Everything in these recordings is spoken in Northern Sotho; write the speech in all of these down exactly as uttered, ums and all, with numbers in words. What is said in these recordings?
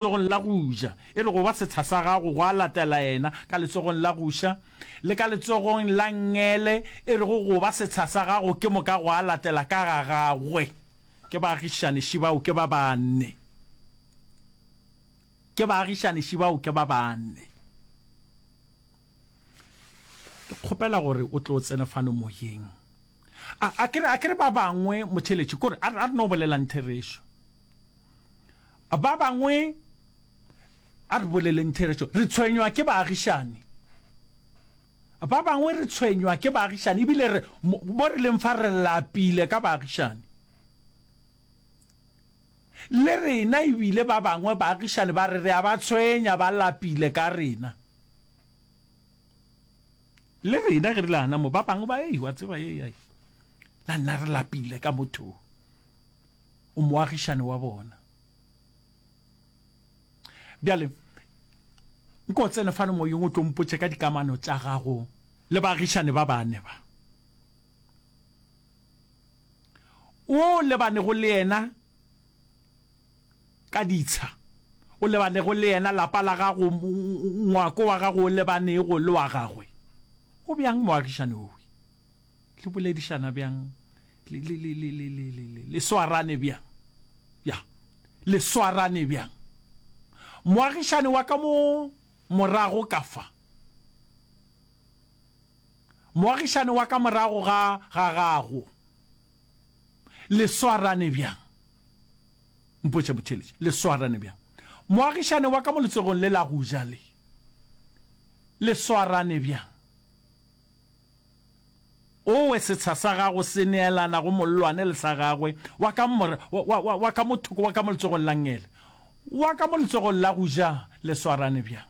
Letsogong la go ja, e re go ba setsha sa gago gwa latela yena ka letsogong la go ša, le ka letsogong la nngele, e re go go ba setsha sa gago ke moka gwa latela ka ga gagwe. Ke baagišani šibao ke ba bane. Ke baagišani šibao ke ba bane. Ke kgopela gore o tlo tsene fano moyeng. A, a ke re, a ke re ba bangwe motheletši, kore a, a re no bolelang therešo. Ba bangwe, a re boleleng therešo, re tshwenywa ke baagišani. Ba bangwe re tshwenywa ke baagišani, ebile re, mo re leng fa re lapile ka baagišani. Le rena ebile ba bangwe baagišani ba re re a ba tshwenya, ba lapile ka rena. Le rena ge re le gana mo, ba bangwe ba, ei, wa tseba, ei, ei, la nna re lapile ka motho. O moagišane wa bona. Bjale, nko tsene fano moyeng o tlo mpotše ka dikamano tša gago le baagišane ba bane ba. O lebanego le yena ka ditsha, o lebanego le yena lapa la gago, ngwako wa gago o lebanego le wa gagwe. O bjang moagišane owe? Le boledišana bjang? Le, le, le, le, le, le, le, le, le swarane bjang? Ya, le swarane bjang? Moagišane wa ka mo morago ka fa. Moagišane wa ka morago ga, ga gago. Le swarane bjang? Mpotše motheeletši, le swarane bjang? Moagišane wa ka mo letsogong le la go ja le. Le swarane bjang? Owe setsha sa gago se neelana go mollwane le sa gagwe, wa ka mora, wa, wa, wa, wa ka mo thoko, wa ka mo letsogong la nngele, wa ka mo letsogong la go ja, le swarane bjang?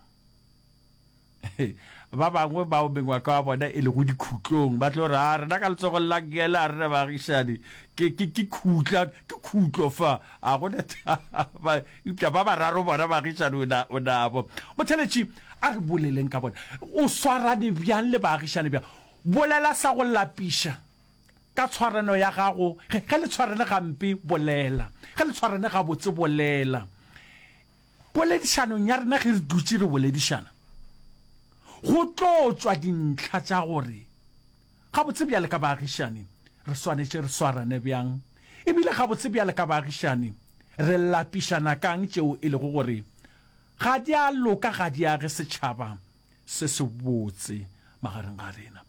Ba bangwe bao mengwako ya bona e lego dikhutlong ba tlo re, A rena ka letsogong la nngele a re na baagišani, ke, ke, ke khutla, ke khutlo fa, a go na taba. Eupša ba bararo bona baagišani o na, o nabo. Motheeletši, a re boleleng ka bona. O swarane bjang le baagišani bjang? Bolela sa go lapiša ka tshwarano ya gago. Ge, ge le tshwarane gampe, bolela. Ge le tshwarane gabotse, bolela. Poledišanong ya rena ge re dutše re boledišana, go tlo tšwa dintlha tša gore gabotse bjale ka baagišani re swanetše re swarane bjang, ebile gabotse bjale ka baagišani re lapišana ka'ng tšeo e lego gore ga di a loka, ga di age setšhaba se sebotse magareng ga rena.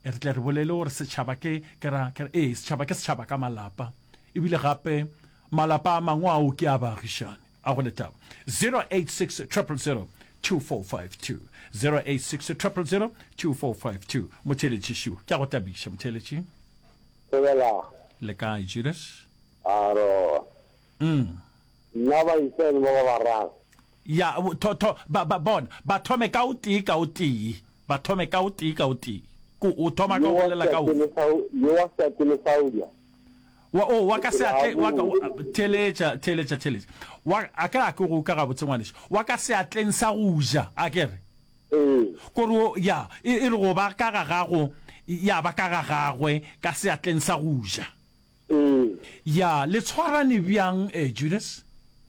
E re tle re bolele gore setšhaba ke, ke ra, ke ra, ee, setšhaba ke setšhaba ka malapa, ebile gape malapa a mangwe ao ke a baagišani. A go lethabo. Zero eight six triple zero two four five two, zero eight six triple zero two four five two. Motheeletši šo, ke a go tabiša, motheeletši. Thobela. Le kae, Judas? Aro. Mm. Nna ba iseng ba ba bararo. Ya, tho, tho, ba, ba, bona, ba thome ka o tee ka o tee. Ba thome ka o tee ka o tee. Ko, o thoma ka go bolela ka ofe? Yo wa seatleng sa go ja. Wa, oh, wa ka seatleng, wa ka, theeletša, theeletša, theeletša. Wa, a ke re a ke go uka gabotse, ngwanešu. Wa ka seatleng sa go ja, a ke re? Ee. Ko re o, ya, e, e re go ba ka ga gago, ya ba ka ga gagwe, ka seatleng sa go ja. Ee. Ya, le tshwarane bjang, eh, Judas?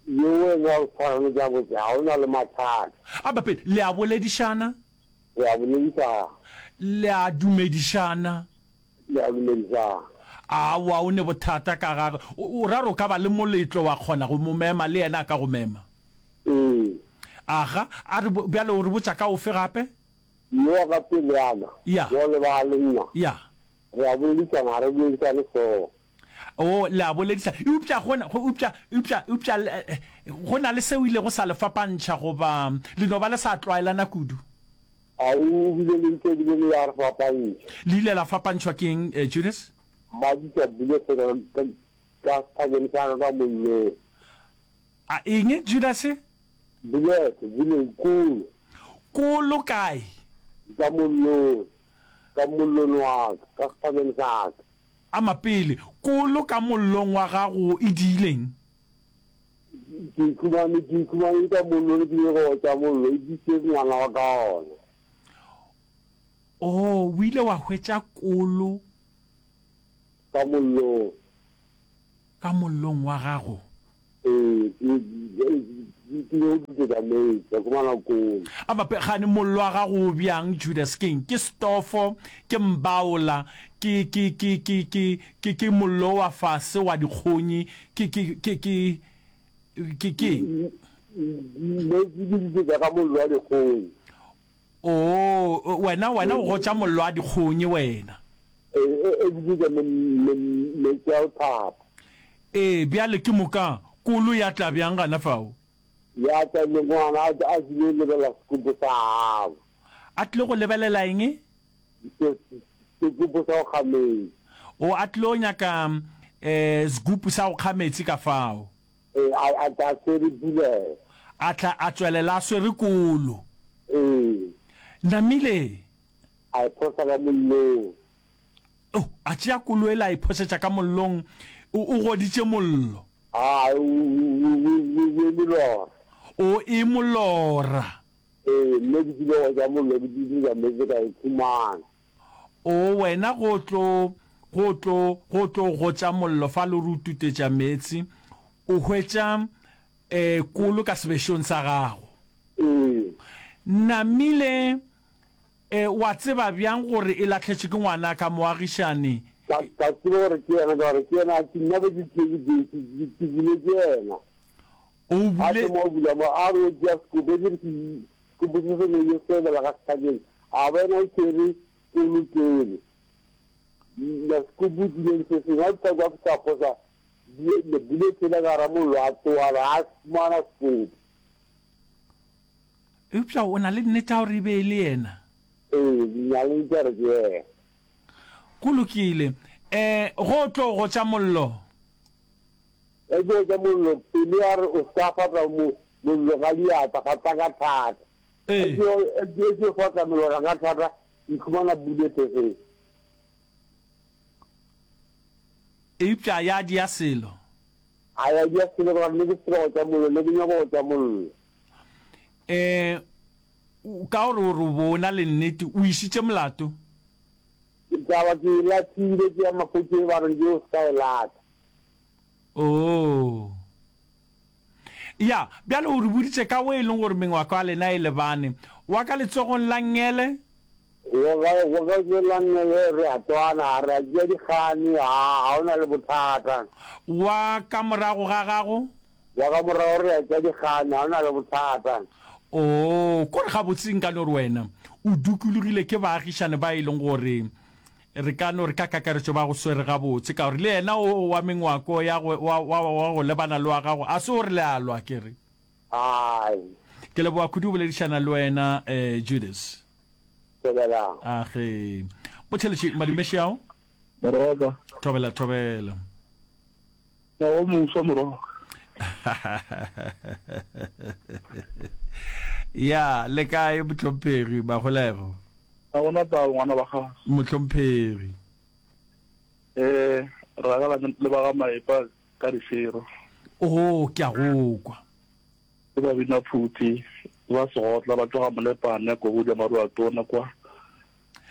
Yo wena o tshwarane gabotse, ga o na le mathata. A ba pele, le a boledišana? Re a boledišana. Le a dumedišana? Le a dumedišana. Aowa, o ne bothata ka gage. O, o ra gore o ka ba le moletlo wa kgona go mo mema, le yena a ka go mema? Ee. Aga, a re, bjale o re botša ka ofe gape? Yo wa ka peleana, Ya. yo lebala le nna. Ya. Re a boledišana, ga re boledišane hlogo. Oo, le a boledišana. Eupša go na, eupša, eupša, eupša go na le seo ilego sa le fapantšha, goba le no ba le sa tlwaelana kudu? A o bile le ntho e bile le ya re fapantšha. Le ile la fapantšhwa ke eng, Judas? Ba bitša bolese ka, ka, ka sephakeng sa ka ka mollong. A eng, Judase? Bolese, boleng, kolo. Kolo kae? Ka mollong. Ka mollong wa ka, ka sephakeng sa ka. Ama pele, kolo ka mollong wa gago e diileng? Ke ikhumane, ke ikhumane ka mollong, ke ile go otša mollo, e diitše ngwana wa ka ona. Oo, o ile wa hwetša kolo. Ka mollong. Ka mollong wa gago? Ee, ke, Ke yo tutetša meetse, ka khumana kolo. A mape, gane mollo wa gago o bjang, Judas? Keng? Ke stofo? Ke mbaola? Ke, ke, ke, ke, ke, ke, ke mollo wa fase wa dikgonyi? Ke, ke, ke, ke, ke, ke eng? Meetse ke tutetša ka mollo wa dikgonyi. Oo, wena, wena o gotša mollo wa dikgonyi, wena. E, e, e tutetša me, me, meetse a go thapa. Ee, bjale ke moka kolo ya tla bjang gana fao? Ya tla le ngwana a, a tlile lebelela sekupu sa gabo. A tlile go lebelela eng? Se, sekupu sa go kga meetse. O, a tlile go nyaka eh, sekupu sa go kga meetse ka fao. Ee, a, a tla a swere pulelo. A tla a tswelela a swere kolo. Ee. Namile. A e phosa ka mollong. Oh, a tšea kolo ela a e phošetša ka mollong, o, o goditše mollo. A, o, o, o, o, o e molora. O e molora. Ee, mme ke tlile go ja mollo, ke tlile meetse ka e khumana. O, wena go tlo, go tlo, go tlo gotša mollo fa le re o tutetša meetse, o hwetša eh, kolo ka sebešong sa gago. Ee. Namile, eh, wa tseba bjang gore e lahletšwe ke ngwanaka moagišani? Ka, ka tseba gore ke yena, ka gore ke yena, ke nna be ke tšere ke, ke, ke, ke buletše yena. O A bule. thoma go bula mo, a re o tšea sekopo, ke re ke sekopo se se no sebela ka sehlakeng, a bona e tšere kolo pele. Na sekopo tlileng se sengwe, a fihla kwa fihla phosa le buletse le gara mollo, a tloga a re a fumana sekopo. Eupša o na le nnete ya gore e be e le yena? Ee, na le nnete ya gore ke yena. Go lokile. Eh, go tlo gotša mollo. Ge ke gotša mollo, pelo ya re o se ka fata mo, mollo ka diatla, fata ka thata. Ee. Ge ke fata molora ka thata, ke khumana bulete fe. Eupša ya dia selo. A ya dia selo ka gore ne ke se gotša mollo, ne ke nyaka go gotša mollo. Eh, ka gore o re o bo na le nnete, o išitše molato. Ke taba ke e lathile, ke ya maphodiseng ba re nke o se ka e lata. Oh. Ya, bjale o re boditše ka o e leng gore mengwako ya lena e lebane. Wa ka letsogong la nngele? Wa ka, wa ka letsogong la nngele re a twana, re a tšea dikgane, ha, ha o na le bothata. Wa ka morago ga gago? Wa ka morago re a tšea dikgane, ha o na le bothata. Oh, kore gabotse nka no re wena o dukulogile ke baagišane ba e leng gore re ka no re ka kakaretšo ba go swere gabotse, ka gore le yena o wa mengwako ya go, wa, wa, wa go lebana le wa gago, a se gore le a lwa, ke re. Ai. Ke leboga kudu go boledišana le wena, eh, Judas. Thobela. Age. Motheletši, madumeši ao. Moroka. Thobela, thobela. Ngwaga o moswa, Moroka. Ya, le kae mohlomphegi Magolego? Ga gona taba ngwana wa gago. Mohlomphegi. Eh, ragala le ba ga Maepa ka difero. Oh, ke a go kwa. Ke ba bina phuthi, ba segotla ba tloga Molepane ko go maru a tona kwa.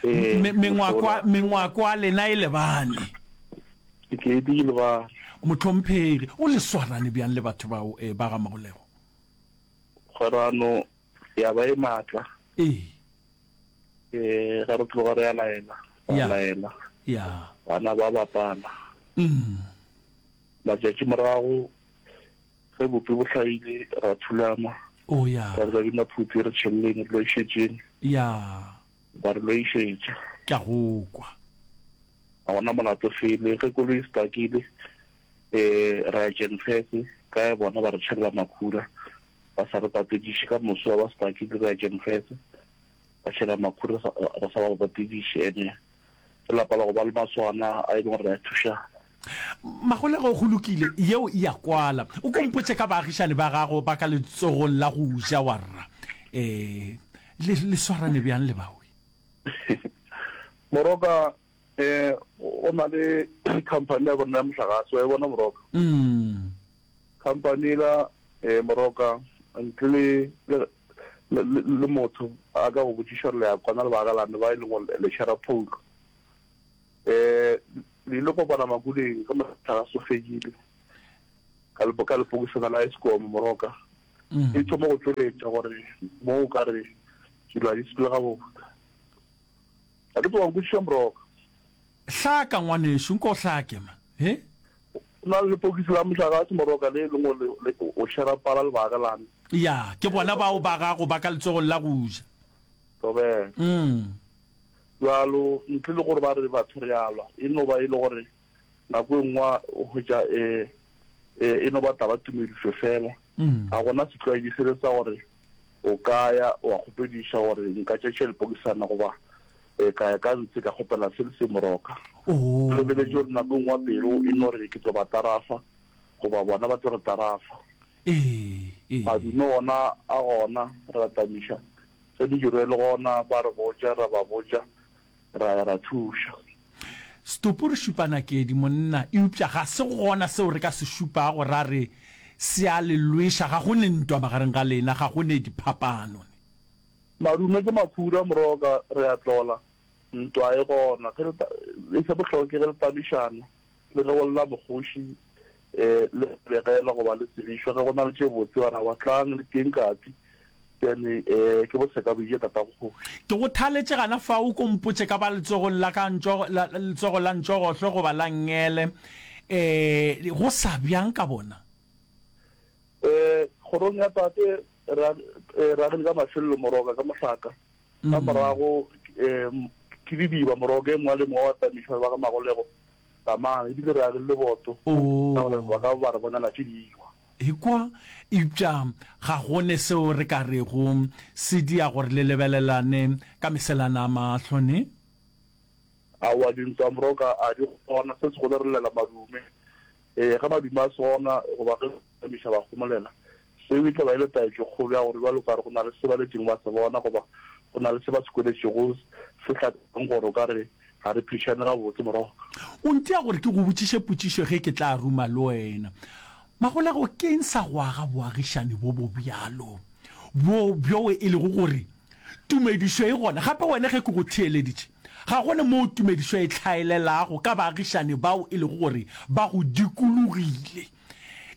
Eh, mengwako mengwako a lena e lebane. Ke di lebane. Mohlomphegi, o le swarane bjang le batho bao eh, ba ga Magolego? Kgwerano ya ba e matla. Ee. Eh, ga re tloga re a laela, Ya. laela. Ya. Bana ba bapala. Mm. Matšatši morago ge bopi bo hlaile ra thulana. Oh ya. Ra re bina phuthi re tšhelleng re lo išetšeng. Ya. Ba re lo išetša. Ke a go kwa. Ga gona molato fele ge koloi e stakile eh ra ya Genfese ka bona ba re tšhella makhura ba sa re patediše ka moso ba stakile re ya Genfese ba tšhela makhura re sa ba patediše ene ke lapa la go ba le maswana a e leng gore re a thuša. Magolego go lokile, yeo e a kwala. O ko mpotše ka baagišane ba gago ba ka letsogong la go ja wa rra. Eh, le, le swarane bjang le bawe? Moroka, eh, o na le company ya bona ya mohlagase, wa e bona Moroka? Mm. Company la eh, Moroka, ntle le, le, le, le motho a ka go botšiša gore le ya kwana le baagalane ba e leng gore le share pole. Eh, le ile kopana makuleng ka mohlagase o fedile ka lepo ka lepokisana la Eskom Moroka. E thoma go tšweletša gore mo o ka re dilo ga di sepele gabotse. Ga ke tsoga nkwešiša Moroka. Hlaka ngwanešu, nko o hlake man. He? Go na le lepokisi la mohlagase Moroka le e leng gore le, o shera pala le baagelane. Ya, ke bona bao ba gago ba ka letsogong la go ja. Thobela. Mm. Bjalo, ntle le gore ba re batho re a lwa, e no ba e le gore nako e nngwe o hwetša e, e, e no ba taba tumedišo fela. Ga gona setlwaedi sele sa gore o ka ya wa kgopediša gore nka tšetše lepokisana goba e, ka ya ka ntshe ka kgopela se le se moroka. Oh. Re lebeletše gore nako e nngwe pelo e no re ke tlo ba tarafa goba bona ba tlo re tarafa. Ee, ee. Madume ona a gona, re a tamiša. Ge mediro e le gona ba re botša, ra ba botša, ra ya ra thuša. Setopo re šupa nakedi, monna, eupša ga se gona seo re ka se šupago ra re se a le lweša. Ga go ne ntwa magareng ga lena, ga go ne diphapano. Ne. Madume ke makhura, moroka, re a tlola. Ntwa e gona. Ge le ta, e se bohlokwa ke ge le tamišana, le ge go lla mokgoši, e, le begela goba le tsebišwa ge go na le tše botse, ba ra wa tlang le teng katsi. Bjale, eh, ke boseka bo ile tatago kgoši. Ke go thaletše gana fao, o ko mpotše ka ba letsogong la ka ntšogo, la, letsogo la ntšogohlo goba la nngele, eh, go sa bjang ka bona? Eh, kgorong ya tate, re ag, eh, re agile ka mafelelo moroka ka mohlaka. Ka morago, eh, ke didiba moroka e mongwe le mongwe wa tamišwa ba ga Magolego, Tamang, ebile re agile leboto, ka gore ba ka ba re bonela tše diwa. Ekwa, eupša ga go ne seo re ka rego se dia gore le lebelelane ka meselana a mahlo, ne? Aowa, dintwa moroka a di gona, se segolo re llela madume. Ee, ge madume a se gona, goba ge tamiša ba homolela, seo e tla ba e le taetšo kgolo ya gore bjalo ka re go na le se ba letšeng ba se bona goba go na le se ba se kweletšego se hlakang gore o ka re ga re phedišane gabotse moroka. O ntia gore ke go botšiše potšišo ge ke tla ruma le wena. Magolego, ke eng sa go aga boagišani bo bo bjalo, bjo, bjoo e lego gore tumedišo e gona? Gape wena ge ke go theeleditše, ga go ne moo tumedišo e hlaelelago ka baagišani bao e lego gore ba go dikologile.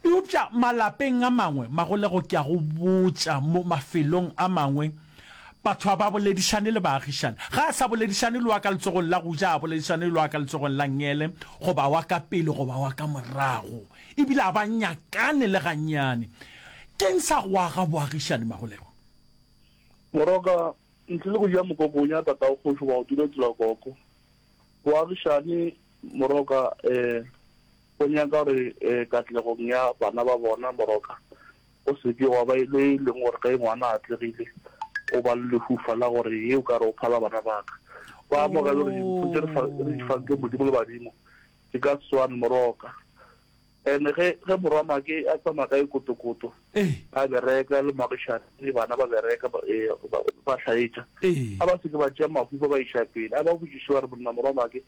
Eupša malapeng a mangwe, Magolego, ke a go botša, mo mafelong a mangwe, batho ga ba boledišane le baagišani. Ga a sa boledišane le wa ka letsogong la go ja, a boledišane le wa ka letsogong la nngele, goba wa ka pele goba wa ka morago. E bile ga ba nyakane le gannyane. Ke'ng sa go aga boagišani, Magolego? Moroka, ntle le go ja mokokonya tatago kgoši goba go dula tsela koko. Boagišani, Moroka, eh, go nyaka gore eh, katlegong ya bana ba bona, Moroka, go se ke gwa ba le e leng gore ge ngwana a atlegile o ba le lehufa la gore ye o ka re o phala bana ba ka. Ba amogele gore dimpho tše re fa, re di fang ke Modimo le badimo di ka se swane, Moroka. And ge, ge morwa Make a tsamaya ka e kotokoto, a bereka le moagišani, bana ba bereka, ba, e, ba, ba hlaetša, a ba se ke ba tšea mahufa ba iša pele. A ba botšiše ba re, Monna morwa Make,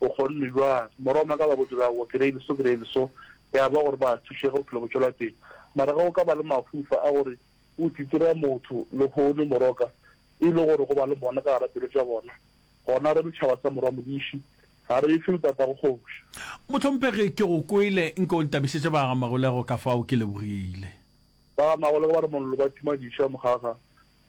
o kgonne bjang? Morwa Make a ba botše, Aowa, ke reile so, ke reile so. Ya ba gore ba thušege, bophelo bo tšwela pele. Mara ge go ka ba le mahufa a gore o titira motho lehono, moroka, e le gore go ba le mona ka gara pelo tša bona, gona re le tšhaba sa morwa Modiši, ga re efe le tatago kgoši. Mohlomphegi, ke go kwele, nke o ntabišetše ba ga Magolego, ka fao ke lebogile. Ba ga Magolego ba re mollo ba tima diša, mokgakga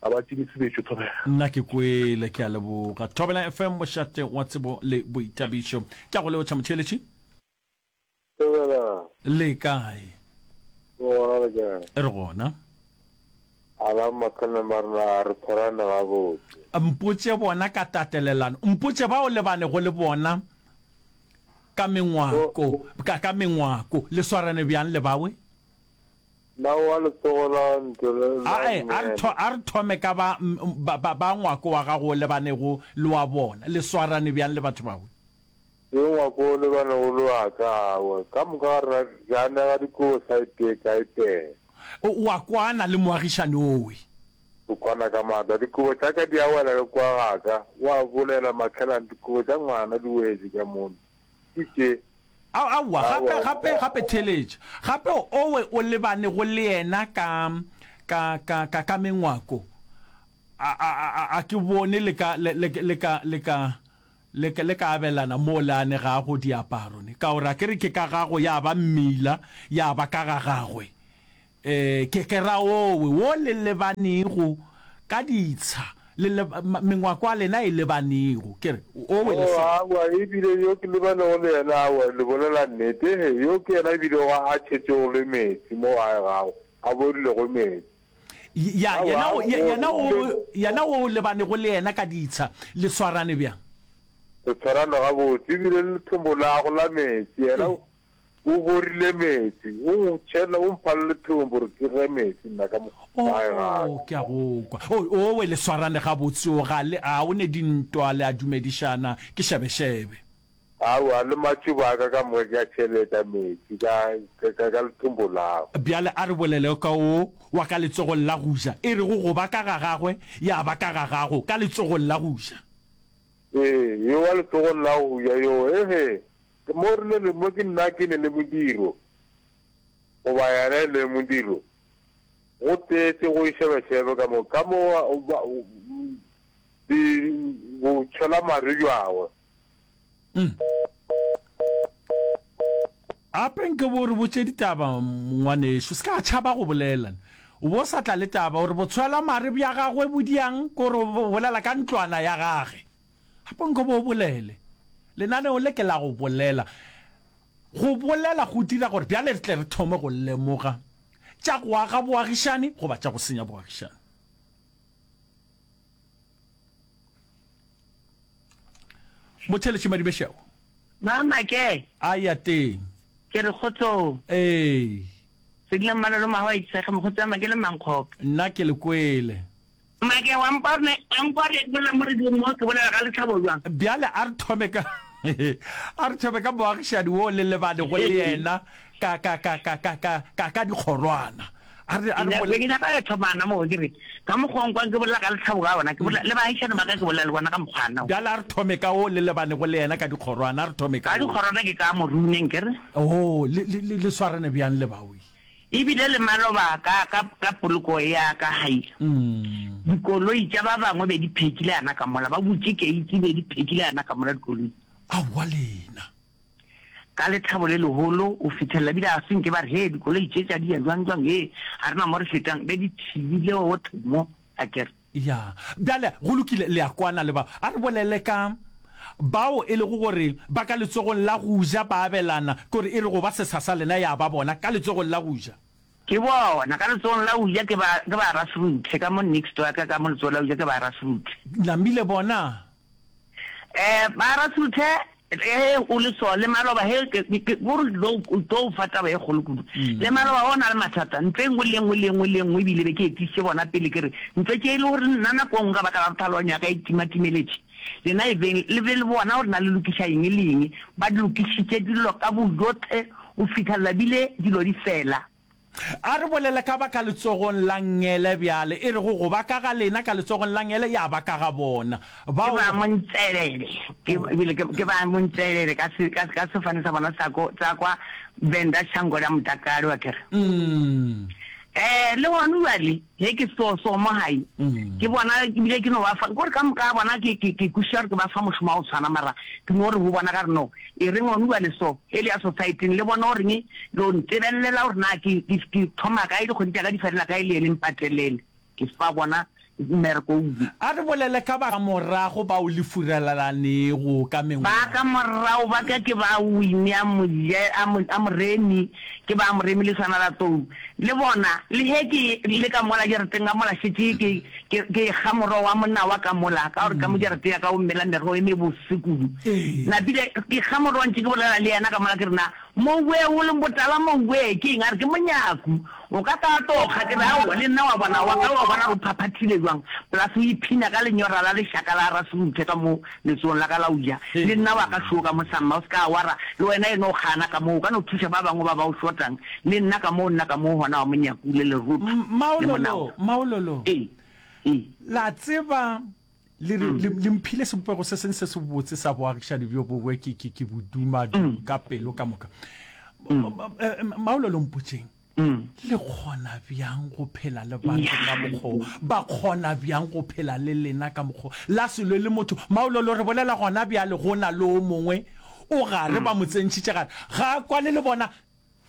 ga ba time sebetšo, Thobela. Nna ke kwele, ke a leboga. Thobela F M, mošate wa tsebo le boithabišo. Ke a go leotša motheeletši. Thobela. Le kae? Re gona, le kae? Re gona. A la makhana ba rena a re tshwarane gabotse. Mpotše bona ka tatelelano. Mpotše bao le banego le bona ka mengwako, ka, ka mengwako. Le swarane bjang le bawe? Na wa letsogo la ntlo le la Ae, a re tho, nngele? a re thome ka ba, ba, ba, ba ngwako wa gago o lebanego le wa bona. Le swarane bjang le batho bawe? Ke ngwako o lebanego le wa ka, aowa, ka moka ga rena re anega dikobo sa e tee ka e tee. O, o a kwana le moagišani owe? O kwana ka maatla. Dikobo tša ka di a wela le kwa ga ka. O a bolela, Makhelane, dikobo tša ngwana di wetše ka mono. Ke tše. Ao, aowa, gape, Aowa. gape, gape theeletša. Gape owe o lebanego le yena ka, ka, ka, ka, ka mengwako. A, a, a, a ke bone le ka, le, le, le ka, le ka, le ka, le ka abelana moo le anegago diaparo, ne? Ka gore a ke re ke ka gago ya ba mmila, ya ba ka ga gagwe. Eh, ke, ke ra owe, wo le lebanego ka ditsha, le le, mengwako ya lena e lebanego. Ke re, owe le Oh, aowa, ebile yo ke lebanego le yena, aowa, le bolela nnete. Ehe, yo ke yena ebilego a tšhetšego le meetse mo gae gago, a borilego meetse. Ya, yena o, yena o, yena o lebanego le yena ka ditsha, le swarane bjang? Re swarane gabotse, ebile le lethombo lago la meetse, yena O borile meetse, o ntšhela, o mpha le lethombo gore ke ge meetse nna ka mo gae ga ka. Oh, ke a go kwa. Oh, owe, le swarane gabotse, o ga le, a o ne dintwa, le a dumedišana, ke šebešebe. Aowa, le matšoba a ka ka moka ke a tšheleta meetse ka, ka, ka, ka lethombo lago. Bjale a re bolele ka wo wa ka letsogong la go ja, e rego go ba ka ga gagwe, ya ba ka ga gago, ka letsogong la go ja. Ee, yo wa letsogong la go ja, yo, ehe. Ke mo rile le mo ke nna ke ne le modiro, goba yena e le modiro, go tletše go e šebešebe ka mo, ka mo ba, di, bo tšhwela mare bjagwe. Mm. Gape nke bo re botše ditaba, ngwanešu. Se ka tšhaba go bolela. O bo sa tla le taba, o re botshwela mare bja gagwe bo diang, ke gore o bolela ka ntlwana ya gage. Gape nko bo bolele. Lenaneo le ke la go bolela. Go bolela go dira gore bjale re tle re thome go lemoga tša go aga boagišani goba tša go senya boagišani. Motheletši Madibešego. Mama ke. A ya teng. Ke re kgotsong. Ee. Sedila Mmalolo Mahoa Itshege mokgotsi wa Make le Mankgope. Nna ke le kwele. Make, wa nkwa re, wa nkwa re bolela mo radiong mo, ke bolela ka lethabo bjang? Bjale a re thome ka, a re thome ka moagišani wo le lebanego le yena ka, ka, ka, ka, ka, ka, ka, ka dikgorwana. A re, a re Ke ke nyaka go thomana mo, ke re, ka mokgwa o nkwang ke bolela ka lethabo ka gona, ke bolela le baagišani ba ka, ke bolela le bona ka mokgwana wo. Bjale a re thome ka wo le lebanego le yena ka dikgorwana, a re thome ka Ka wo. dikgorwana ke ka Moruneng, ke re. Oo, le, le, le, le swarane bjang le bawi? E bile le maloba ka, ka, ka poloko ya ka gae. Dikoloi tša ba bangwe be di phekile yana ka mola, ba butše keiti be di phekile yana ka mola dikoloi. Aowa lena. Ka lethabo le legolo o fithelela bile ga se nke ba re, Hee, dikoloi tše tša di ya jwang, jwang, hee, ga re na mo re fetang. Be di thibile gohle mo, akere. Ya. Bjale, go lokile, le a kwana le ba. A re bolele ka bao e lego gore ba ka letsogong la go ja ba abelana, ke gore e re go ba setsha sa lena ya ba bona ka letsogong la go ja. Ke bona, ka letsogong la go ja ke ba, ke ba Rasruthe, ka mo next wa ka, ka mo letsogong la go ja ke ba Rasruthe. Namile bona. Eh, ba Rasruthe, ge o le so, le maloba ge, ke, ke, ke, gore ke tlo, ke tlo fa taba e kgolo kudu. Le maloba o na le mathata, ntlo e nngwe le e nngwe le e nngwe le e nngwe ebile be ke etišitše bona pele ke re, ntlo tše e le gore nna nako e nngwe ka baka la gore tlhaloganyo ya ka e timatimeletše, lena e beng le be le bona gore na le lokiša eng le eng. Ba lokišitše dilo ka bojohle go fihla bile dilo di fela. A re bolele ka ba ka letsogong la nngele bjale, e rego go ba ka ga lena ka letsogong la nngele ya ba ka ga bona. Ke Bao. ba Montselele, ke, ebile ke, ke ba Montselele ka se, ka, ka sefane sa bona sa ko, sa kwa Venda Shango la Motakalo, akere. Mm. Eh, le gona bjale, ge ke so, so mo gae, ke bona, ebile ke no ba fa, kore ka moka ga bona ke, ke, ke kwešiša gore ke ba fa mošomo wa go tshwana, mara ke no re go bona ka re no, e reng gona bjale so, e le ya society-ing, le bone goreng lo ntebelela gore na ke, ke, ke thoma kae, dikgwedi tša ka di felela kae, le ye le mpatelele. Ke fa bona mmereko o. A re bolele ka ba ka morago bao le furalelanego ka Ba mengwaga. ka morago ba ka ke ba Winnie a Moje, a Mo, a Moremi, ke ba Moremi le swana la Tou. Le bona, le ge ke le ka mola jarateng ka mola šetše ke, ke, ke ekga morogo wa monawa ka mola, ka gore ka mo jarateng ya ka go mela merogo e mebose kudu. Ee. Napile ke kga morogo ntše ke bolela le yena ka mola ke re, Na Mouwe o leng botala mouwe ke eng? A re, Ke monyaku. O ka tla tlo kga. Ke re, Aowa, le nna wa bona wa ka wa bona gore o phaphathile bjang. Plus o iphina ka lenyora la lešaka la Rasruthe ka mo letsogong la ka la go ja. Le nna wa ka šo ka mo samma, o se ka wara. Le wena e no kgana ka moo, o ka no thuša ba bangwe ba ba o shotang. Le nna ka moo, nna ka moo gona wa monyaku le lerotho le Maololo, monawa. Maololo, Ee, ee. la tseba Le re, le, le mphile sebopego se seng se sebotse sa boagišani bjo bongwe, ke, ke, ke bo duma ka pelo ka moka. Maolelo, mpotšeng, le kgona bjang go phela le batho ka mokgwa wo? Ba kgona bjang go phela le lena ka mokgwa wo? La se lwe le motho. Maolelo, re bolela gona bjale, go na le o mongwe o gare, ba mo tsentšhitše gare, ga a kwane le bona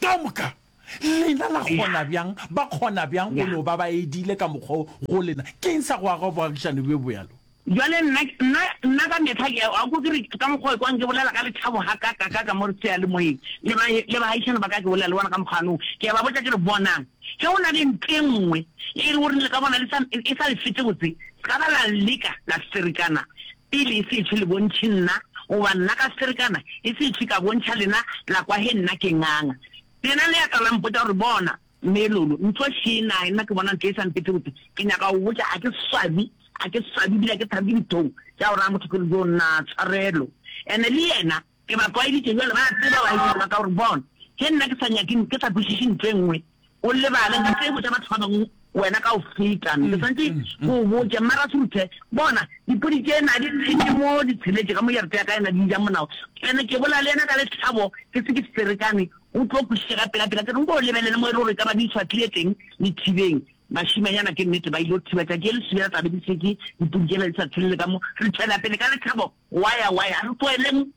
ka moka. Lena la kgona bjang, ba kgona bjang go no ba ba edile ka mokgwa wo go lena? Ke eng sa go aga boagišani bjo bjalo? Bjale nna, nna, nna ka mehla ke, a o kwe ke re, ka mokgwa o ekwang ke bolela ka lethabo gakakakaka mo seyalemoyeng, le ba, le baagišani ba ka ke bolela le bona ka mokgwa wo, ke a ba botša ke re, Bonang, ge go na le ntho e nngwe e le gore le ka bona le sa, e sa le fete botse, se ka ba la leka la ferekana pele e se ešo le bontšhe nna, goba nna ka ferekana e se ešo ka bontšha lena, la kwa ge nna ke nganga. Lena le ya tla la mpotša gore, Bona, Mme Lolo, ntlo še na, nna ke bona ntlo e sa mpete botse. Ke nyaka go botša, ga ke swabi, ga ke swabi ebile ga ke thabe ke dithong tša go raya motho ke re, Jo nna, tshwarelo. Ene le yena ke ba tlwaeditše bjale, ba a tseba baagišani ba ka gore, Bona, ge nna ke sa nyake, ke sa kwešiše ntlo e nngwe, o lebale, nka se e botša batho ba bangwe wena ka go feta. Ke swanetše ke o botše, Mmarasruthe, bona, dipudi tše na di tshetše mo di tsheletše ka mo jarete ya ka ena di ja monao. Ene ke bolela le yena ka lethabo, ke se ke ferekane, O tlo kwešiša ka pelapela. Ke re nko o lebelele mo e le gore e ka ba di šwahlile teng lethibeng. Bašimanyana ke nnete ba ile go thiba tšatši le lesubela tla be di šetše dipudi tšela di sa tshelele ka mo. Re tšwela pele ka lethabo waya waya. A re tlogeleng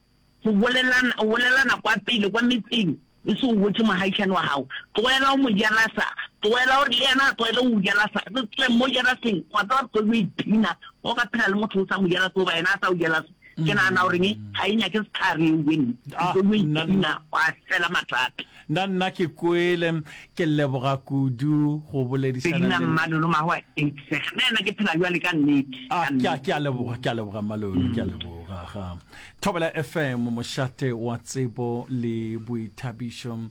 go bolelana, go bolelana kwa pele kwa metseng e se o botše mogaishane wa gago. Tlogela go mo jelasa, tlogela gore le yena a tlogele go o jelasa. Re tswe mo jelaseng, wa tseba re tlo yo ipshina. Ge o ka phela le motho o sa mo jelase goba yena a sa o jelase, Ke nagana gore ga e nyake sehlare eo bjeng, Ah, o tlo nna, ipshina gwa fela mathata. Nna, nna ke kwele. Ke leboga kudu go boledišana Sedina le. Mmalolo Mahwa Eikseg. Nna yena ke phela bjale ka nnete, Ah, ka ke a, nnete. ke a leboga, ke a leboga Mmalolo, ke a leboga. Ga. Thobela F M, mošate wa tsebo le boithabišo.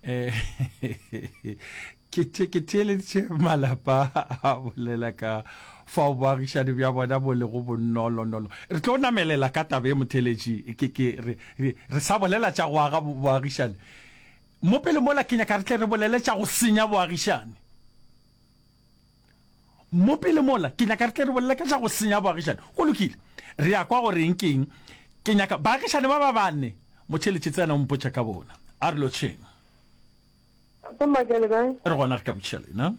Eh, Ke, ke theeleditše malapa a bolela ka fao boagišani bja bona bo lego bonolonolo. Re tlo namelela ka taba ye motheeletši, ke, ke, re, re, re sa bolela tša go aga boagišani. Mo pele mola ke nyaka re tle re bolele tša go senya boagišani. Mo pele mola ke nyaka re tle re bolele ka tša go senya boagišani. Go lokile, re a kwa gore eng ke eng. Ke nyaka baagišani ba ba bane, motheeletši tsena o mpotša ka bona. A re lotšheng. Tate Maka le kae? Re gona re ka botšiša lena.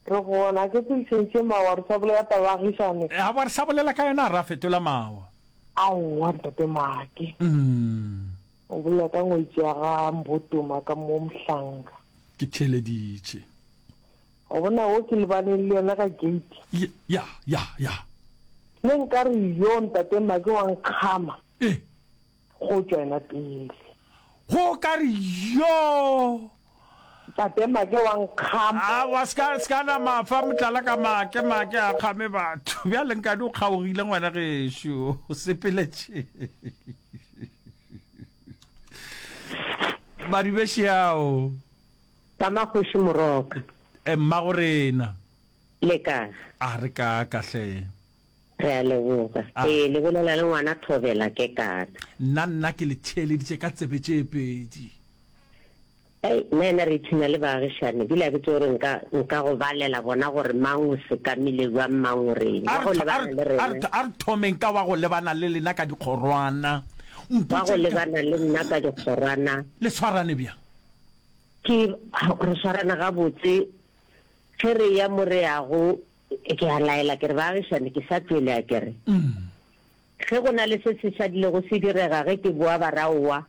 Re gona, ke tse tšhentšhe mawa re sa bolela taba ya agišane. Aowa re sa bolela ka yona ra fetola mawa. Aowa ntate Make. O bolela ka ngwetši ya ga Mbotoma ka mo Mohlanka. Ke theeleditše. Wa bona wo ke lebaneng le yena ka gate. Ya, ya, ya. Ne nkare yo ntate Make wa nkgama. E. Go tšwa yena pele. Go ka re yoo. Tate Make wa nkgama. Aowa, se ka, se ka nama fa motlala ka Make, Make a kgame batho. Bjale nkane o kgaogile ngwana gešo, o sepeletše. Madibešiao. Tama kgoši Moroka. E, mmagorena. Le kae? A re kaaka hle. Re a leboga. A. Ee, le bolela le ngwana Thobela Kekana. Nna, nna ke le theeleditše ka tsebe tše pedi. Ei, nna yena re ipshina le baagišani, bile a ke tsebe gore nka, nka go balela bona gore mang o sekamile bjang, mang o reng. A Wa re, go a lebana re, le a re, rena. a re thomeng ka wa go lebana le lena ka dikgorwana. Wa go Mpotšeng ka. lebana le nna ka dikgorwana. Le swarane bjang? Ke, re swarana gabotse. Ge re eya mo re yago, Ke a laela ke re, Baagišani, ke sa tšwele, a ke re, Ge go na le se se šadilego se direga ge ke boa ba ra aowa,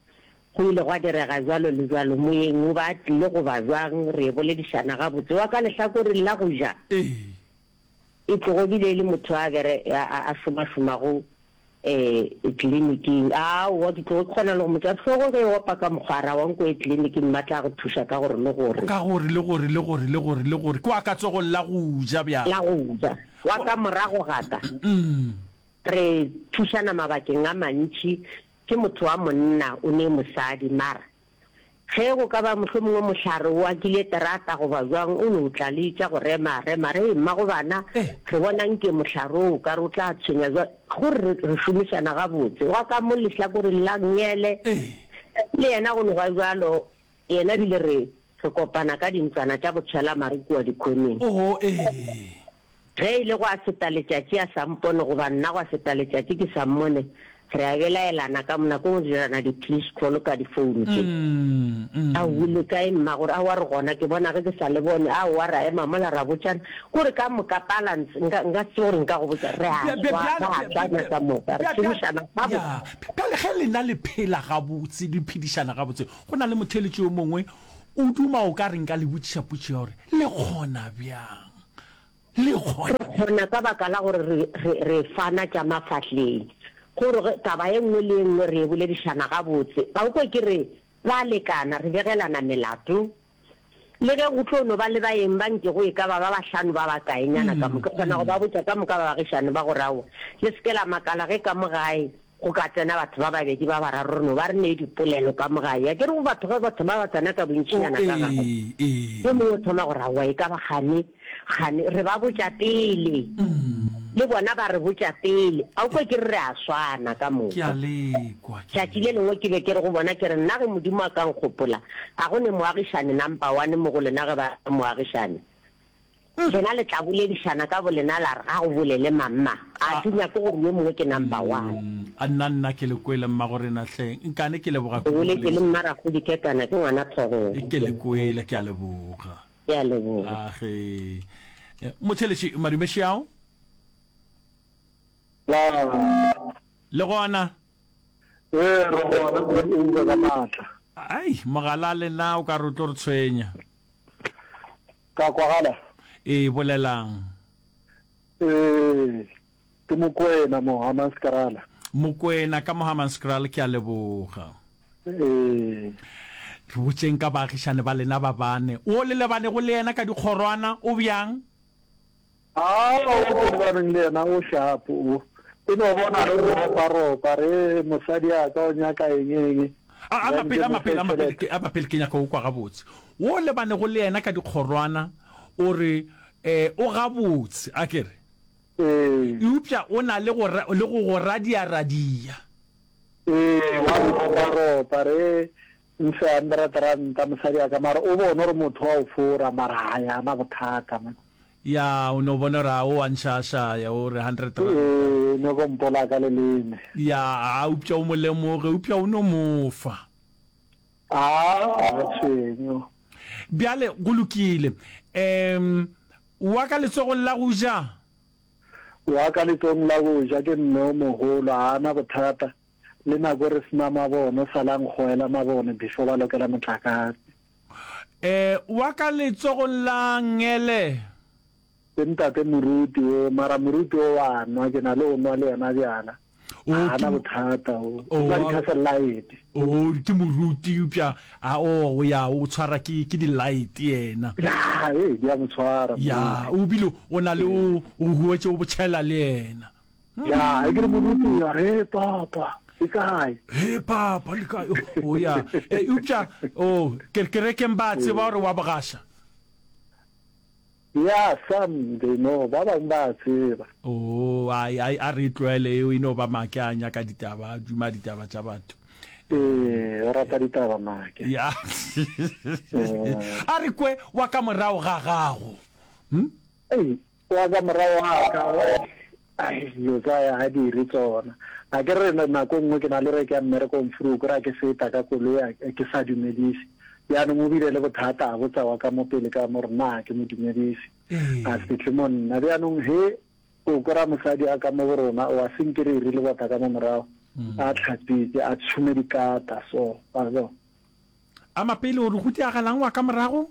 go ile gwa direga bjalo le bjalo, moyeng o ba a tlile goba bjang, re e boledišana gabotse. Wa ka lehlakoreng la go ja, e tlogo bile e le motho a bere, a, a, a šomašomago Ee, tleliniking. Aowa, ke tlogo ke kgona le go mo tšea hlogo ge e opa ka mokgwa, a re, Aowa, nko ye tleliniking, mma tla go thuša ka gore le gore. Ka gore le gore le gore le gore le gore. Ke wa ka tsogong la go ja bjale. La go ja. Wa ka morago ga ka. Re thušana mabakeng a mantši. Ke motho wa monna, o ne mosadi, mara Ge go ka ba mohlomongwe mohlare o akile terata goba bjang, o no tla le tša go rema, rema, re, Mmago bana, re bona nke mohlare wo o ka re o tla tshwenya bjang. Go re re šomišana gabotse. Wa ka mo lehlakoreng la nngele, le yena go no ba bjalo, yena ebile re, re kopana ka dintlwana tša botshwelamare kua dikhoneng. Oo, ee. Ge e le gwa feta letšatši a sa mpone goba nna gwa feta letšatši ke sa mmone, re a belaelana ka nako nngwe re dirana di-please call ka di-phone tše. Aowi le kae mma? Gore aowa re gona, ke bona ge ke sa le bone. Aowa ra ema mola ra botšana. Kore ka moka balance, nka, nka se tsebe gore nka go botša, re a swa, ra swana ka moka, re šomišana gabotse. Bjale ge lena le phela gabotse, le phedišana gabotse, go na le motheeletši yo mongwe O duma o ka re nka le botšiša potšišo ya gore, Le kgona bjang? Le kgona. Re kgona ka baka la gore re, re, re fana tša mafahleng. Gore ge, taba ye nngwe le ye nngwe re e boledišana gabotse. Ga o kwe ke re, Ra lekana, re begelana melato. Le ge go tlo no ba le baeng ba nkego e ka ba ba bahlano ba bakaenyana ka mo, ke kgona go ba botša ka moka baagišane ba gore aowa, le se ke la makala ge ka mo gae go ka tsena batho ba babedi ba bararo re no ba re nee dipolelo ka mo gae. Akere go batho ge batho ba ba tsena ka bontšinyana ka gae, yo mongwe o thoma gore aowa e ka ba kgane, kgane. Re ba botša pele, le bona ba re botša pele. A o kwe ke re re a swana ka Ke moka? a le kwa, ke a Tšatši le le lengwe ke be ke re go bona, ke re, Nna ge Modimo a ka nkgopola, a go ne moagišane nampa one mo go lena ge ba re moagišane? Lena le tla boledišana ka bolena la re, Ga go bolele mamma, ga ke nyake gore yo mongwe ke nampa one. A nna nna ke le kwele mmagorena hleng, nkane ke leboga O kudu boletše le Lesa. Mmarakgodi Kekana, ke ngwana Thobela. Ke le kwele, ke a leboga. Ke a leboga. A ge. Motheeletši Madume Šiao. La. Le gona? Ee, re gona, o uba ka maatla. Ai, mogala le na o ka re o tlo re tshwenya. Ka kwagala? Ee, bolelang. Ee, ke Mokwena mo Hammanskraal. Mokwena ka mo Hammanskraal, ke a leboga. Ee. Re botšeng ka baagišane ba lena ba bane. Wo le lebanego le yena ka dikgorwana o bjang? Aa, wo ke lebaneng le yena o sharp o. E no bona re ropa-ropa re mosadi a ka o nyaka eng eng. A, a Then mapele, ke a mo fe mapele, a mapele, tšhelete. ke, a mapele, ke nyaka go kwa gabotse. Wo lebanego le yena ka dikgorwana o re, eh, o gabotse, a ke re? Ee. Eupša o na le go, le go go radia-radia. Ee, wa ropa-ropa re mfe hundred ranta mosadi a ka, mara o bone gore motho wa o fora, mara ha ya na bothata man. Ya, o no bona gore a o a nšašaya, o re hundred ranta. Ee, o nyoko mpola ka leleme. Ya, a eupša o mo lemoge, eupša o no mo fa. A, ga tshwenyo. Bjale, go lokile. Um, wa ka letsogong la go ja? Wa ka letsogong la go ja ke mme o mogolo, ga a na bothata. Le nako re se na mabone, o sala a nkgoela mabone before ba lokela motlakase. Um, wa ka letsogong la nngele? Ke ntate moruti o, mara moruti o wa nwa, ke na le o nwa le yena bjala. O, Ga ke na mo, bothata o. o, O nwa wa, di-Castle Lite. o, ke moruti, eupša a, o, o ya, o tshwara ke, ke di-light yena. Ya, ee, di a mo tshwara Ya, moruti. o bile o na le Ee. o, o huetše o bo tšhela le yena. Ya, e ke re moruti, ya re, He papa, le kae? He papa, le kae? O, o ya. E, eupša, o, ke, kerekeng ba a tseba Ee. gore wa bogaša. Ya, some they know, ba bangwe ba a tseba. Oo, ai, ai, a re e tlohele eo, e no ba Make a nyaka ditaba, a duma ditaba tša batho. Ee, o rata ditaba Make. Ya. Ee. A re kwe wa ka morago ga gago. Hm? Ei, wa ka morago ga ka, ai, dilo tsa ya ga di re tsona. A ke re nako nngwe ke na le re ke ya mmerekong vroeg, ra ke feta ka koloi a ke sa dumedise. Bjanong o bile le bothata, a botsa wa ka mo pele ka mo re na ke mo dumedise. A se tle mo nna. Bjanong he o kwera mosadi a ka mo go rona, o a senke re iri lebota ka mo morago, a tlhatswitse, a tšhume dikata so, wa bona. A mapele o re go diagalang wa ka morago?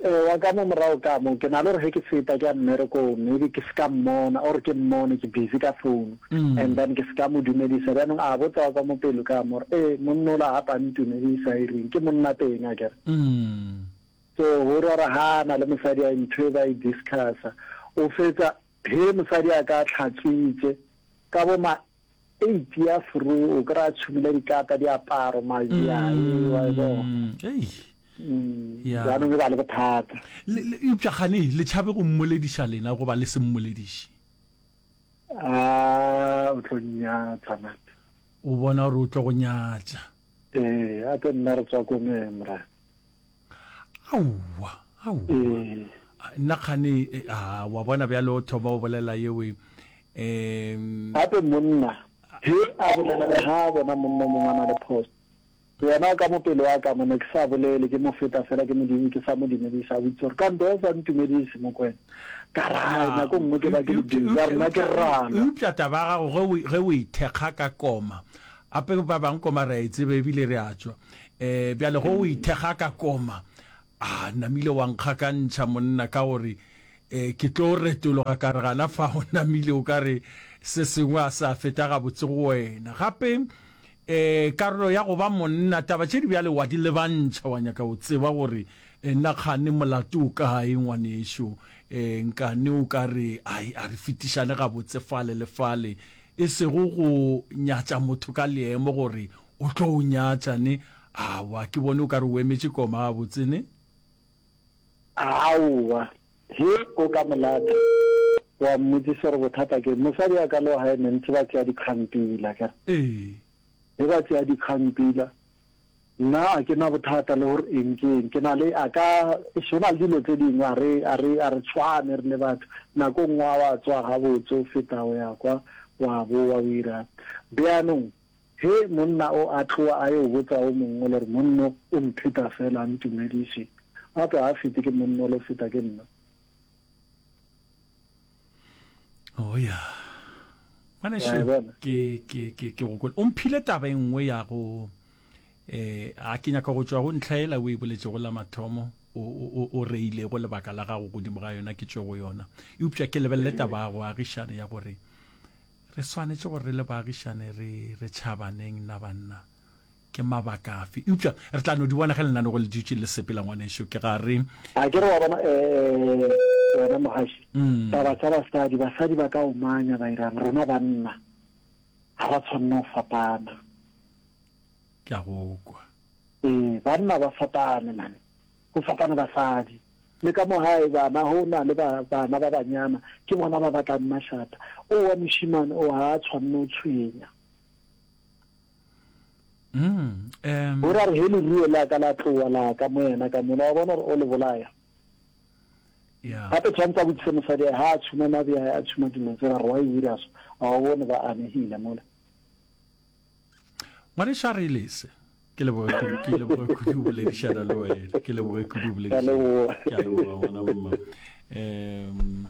Ee, wa ka mo morago ka mo, ke na le gore ge ke feta ke ya mmerekong, maybe ke se ka mmona or ke mmone ke busy ka phone, and then ke se ka mo dumedisa. Bjanong a botsa wa ka mo pelo ka mo gore, ee, monna ola gape a ntumedisa e reng, ke monna teng akere. So go ra gore ha a na le mosadi a ntho e ba e discussa, o fetsa he mosadi a ka tlhatswitše ka bo ma eight ya fru, o kry-a tšhumile dikata, diaparo, majae, wa e bona. Ei. Mm, Ya. Jaanong e ba le bothata. Le, le, eupša gane le tšhabe go mmolediša lena goba le se mmolediše? A, o tlo nnyatša, man. O bona gore o tlo go nyatša. Ee, a tlo nna re tswa komeng, morena. Aowa, aowa. Ee. Nna kgane, e, a, wa bona bjale o thoma o bolela yewe, em. Gape monna, he a bolela le ha a bona monna o mongwe a na le phoso. Yena ka mo pelo ya ka mo ne ke sa bolele, ke mo feta fela ke mo ke sa mo dumedisa, a botšiša gore kante o sa ntumedise Mokwena? Ka re hai, nako nngwe ke ba ke le busy, a re nna ke rana. Eupša taba ya gago ge o, ge o e thekga ka koma, gape ba bangwe koma re a e tseba ebile re a tšwa, Um bjale go o ithekga ka koma, a namile wa nkgakantšha monna ka gore um ke tlo retologa ka re gana fa o namile o ka re se sengwe a sa feta gabotse go wena. Gape um karolo ya go ba monna, taba tše di bjale wa di lebantšha, wa nyaka go tseba gore nna kgane molato o kae ngwanešo, um nkane o ka re ai a re fetišane gabotse fale le fale, e sego go nyatša motho ka leemo gore o tlo o nyatša ne. Aowa, ke bone o ka re o emetše koma gabotse ne. Aowa, he o ka mo lata wa mmotsisa gore bothata ke eng. Mosadi wa ka le wa gae ne ntse ba tšea dikgang pila, akere? Ee. He ba tšea dikgang pila, nna a ke na bothata le gore eng ke eng. Ke na le, a ka, eish, go na le dilo tse dingwe a re, a re, a re tshwane re le batho. Nako nngwe a wa tswa gabotse o feta o ya kwa, wa bowa o irang. Bjanong Ge monna o a tloa a yo botsa o mongwe le re monno o mpheta fela a ntumediše, gape ga a fete ke monno le feta ke nna. Oh ya. Ngwanešu, ke ke ke ke go kwele. O mphile taba e nngwe ya go eh a ke nyaka go tšwa go ntlha ela o e boletšego la mathomo o o o reilego lebaka la gago godimo ga yona ke tšwe go yona. Eupša ke lebelele taba ya go agišana ya gore Re swanetše gore re le baagišane re re tšhabaneng na banna? Ke mabaka afe? Eupša re tla no di bona ge lenanego le dutše le sepela, ngwanešu. Ke ga re. A ke re wa bona, eh, wena mogaši, taba tša basadi, basadi ba ka omanya ba irang, rena banna ga ra tshwanna go fapana. Ke a go kwa. Ee, banna ba fapane man, go fapana basadi. Le ka mo gae bana go na le ba, bana ba banyana, ke bona ba bakang mašata. O wa mošemane o ga a tshwanne go tshwenya. Mm, um. O ra re ge leruo la ka la tlowa la ka mo yena ka mola, wa bona gore o le bolaya. Yeah. Gape tshwanetse a botšiše mosadi ga a tshuma mabje a tshuma dilo tsela gore wa e dira so, a o bone ba amegile mola. Ngwanešu a re lese. Ke leboge kudu, ke leboge kudu go boledišana le wena. Ke leboge kudu go boledišana. Ke a leboga ngwana mma. Um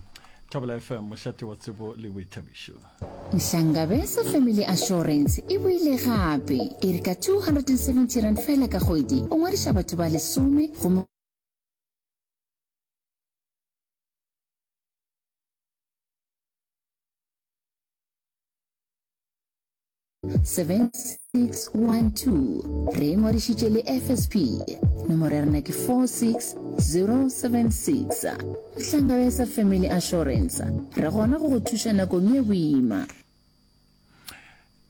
Thobela F M, mošate wa tsebo le boithabišo. Nhlangabeza Family Assurance e boile gape e re ka two hundred and seventy rand fela ka kgwedi o ngwadiša batho ba lesome gomme seven six one two Re ingwadišitše le F S P. Nomoro ya rena ke four six zero seven six. Hlangabeza Family Assurance. Re gona go go thuša nakong ye boima.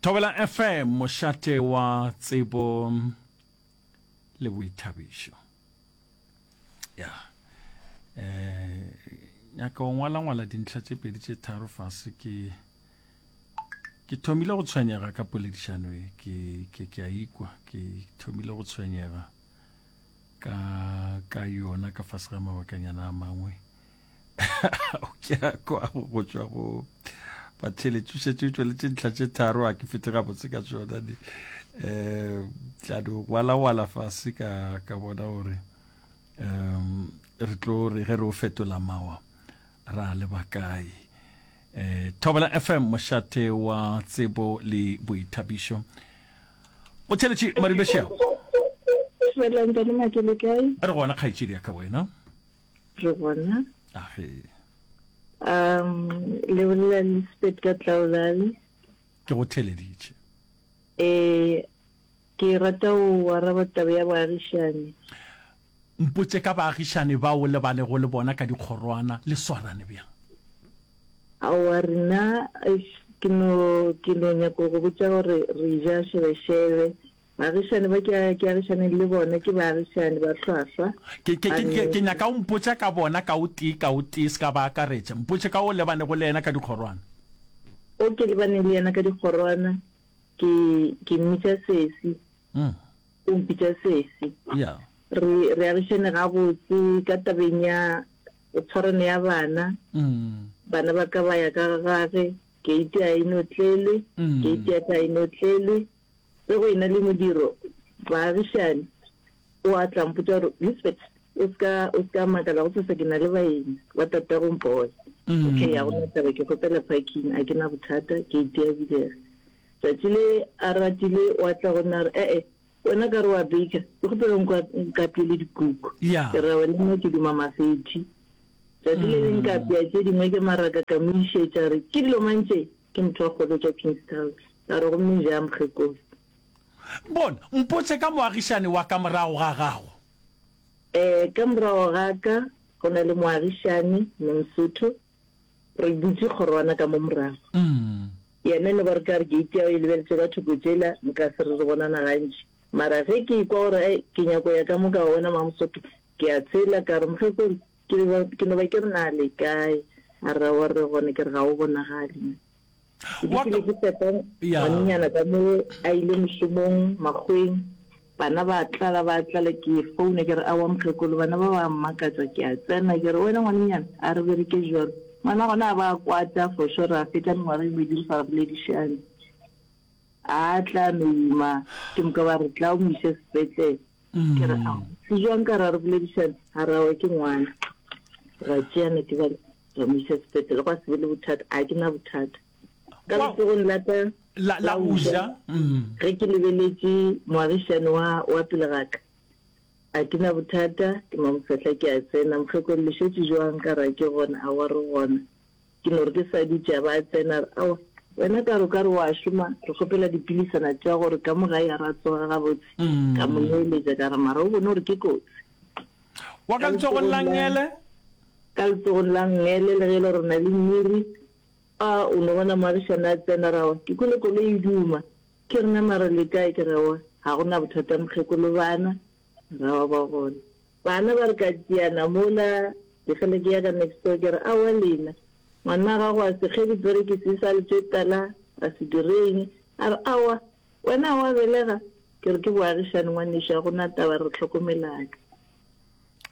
Thobela F M, mošate wa tsebo le boithabišo. Ya. Eh, nyaka go ngwala-ngwala dintlha tše pedi tše tharo fase ke Ke thomile go tshwenyega ka poledišano e, ke, ke, ke a ikwa, ke thomile go tshwenyega ka, ka yona ka fase ga mabakanyana a mangwe. Ke a kwa go tšwa go batheletši, o šetše o tšweletše ntlha tše tharo, a ke fete gabotse ka tšona di. Um, tla no ngwalangwala fase ka, ka bona gore um re tlo re ge re o fetola mawa ra leba kae. Eh, Thobela F M, mošate wa tsebo le boithabišo. Motheletši Maribešea. Dumela ntate Make, le kae? Re gona kgaetšedi ya ka, wena? Re gona. Age. Um, le bolela le Spet ka Tlaolale. Ke go theleditše. Eh, ke rata go araba taba ya baagišani. Mpotše ka baagišani bao o lebanego le bona ka dikgorwana, le swarane bjang? Aowa rena, eish, ke no, ke no nyaka go botša gore re ja šebešebe. Baagišani ba ke, ke agišaneng le bona ke baagišani ba hlwahlwa. Ke, ke, ke, Ba ke nyaka o mpotša ka bona ka o tee ka o tee, se ka ba akaretša. Mpotše ka o lebanego le yena ka dikgorwana. O ke lebaneng le yena ka dikgorwana, ke, ke mmitša sesi. Mm. O mpitša sesi. Yeah. Re, re agišane gabotse ka tabeng ya tshwarano ya bana. Mm. Bana ba ka ba ya ka ga gage, keiti a e notlelwe, Mm. keiti ya ka a e notlelwe. Ge go ena le modiro, baagišani, o a tla mpotša gore, Lisbeth, o se ka, o se ka makala, gosasa ke na le baeng ba tatago mpone. Mm. Okay, ga go na taba, ke kgopela parking, a ke na bothata, keiti ya bulega. Tšatši le a ratile, o a tla go nna a re, E-e, Wena ka re wa baker, ke kgopela o nkapeele dikuku. Ke re, Aowa, le nna ke duma mafethi. Tšatši le leng ka apea tše dingwe ke maraka ka mo išetša, a re, Ke dilo mang tše? Ke motho wa kgwebo tša Kingstown. Ka re, Gomme ja, mokgekolo. Bona, mpotše ka moagišani wa ka morago ga gago. Ee, ka morago ga ka go na le moagišani, Mme Mosotho. Re butše kgorwana ka mo morago. Yena e no ba re ka re gate ya go e lebeletše ka thoko tšela, nka se re re bonana gantši. Mara ge ke ekwa gore ai ke nyako ya ka mo ka go bona Mamosotho, ke a tshela ka re, Mokgekolo, ke be ba, ke no ba ke re na le kae? A re, Aowa re gona. Ke re, Ga o bonagale mo. Ke Wa dikile ka, ke fepa ya. ngwanenyana ka mo a ile mošomong Makgoweng, bana ba tlala ba tlala, ke founa ke re, Aowa mokgekolo, bana ba ba mmakatša. Ke a tsena ke re, Wena ngwanenyana, a re bereke bjalo. Ngwana gona a ba a kwata for sure, ra fetša mengwaga e mebedi re sa boledišane. A tla no ima, ke moka ba re tla o mo iše sepetlele. Ke re, Ao, se jwang ka ra re boledišane? A re, Aowa ke ngwana. Ra tšeana ke bale, ra mo iša sepetlele, gwa se be le bothata. A ke na bothata. Ka Wa, letsogong la ka la, la la go go ja, ja, mm. ge ke lebeletše moagišani wa, wa pele ga ka, a ke na bothata, ke Mamosehla ke a tsena. Mokgekolo, le šetše jwang? Ka re, A ke gona. Aowa, re gona. Ke no re ke sa dutše, a ba a tsena, a re, Aowa, wena ka re o ka re o a šoma, re kgopela dipilisana tša gore ka mo gae ga ra tsoga gabotse. Ka mo neeletša, ka re, Mara o bone gore ke kotsi. Wa ka Ka letsogong letsogong la la, nngele? ka letsogong la nngele, le ge e le gore re na le mmiri, a o no bona moagišane a tsena, ra wa, ke kwele koloi e duma. Ke re, Na mara le kae? Ke re, Aowa, ga go na bothata mokgekolo, bana ra wa ba gona. Bana ba re ka tšeana mola, ke fela ke ya ka next door, ke re, Aowa lena, ngwana gago a se kge diperekisi e sa le tše tala, a se direng? A re, Aowa, wena ga wa belega? Ke re, Ke boagišane ngwanešu, ga go na taba, re hlokomelane.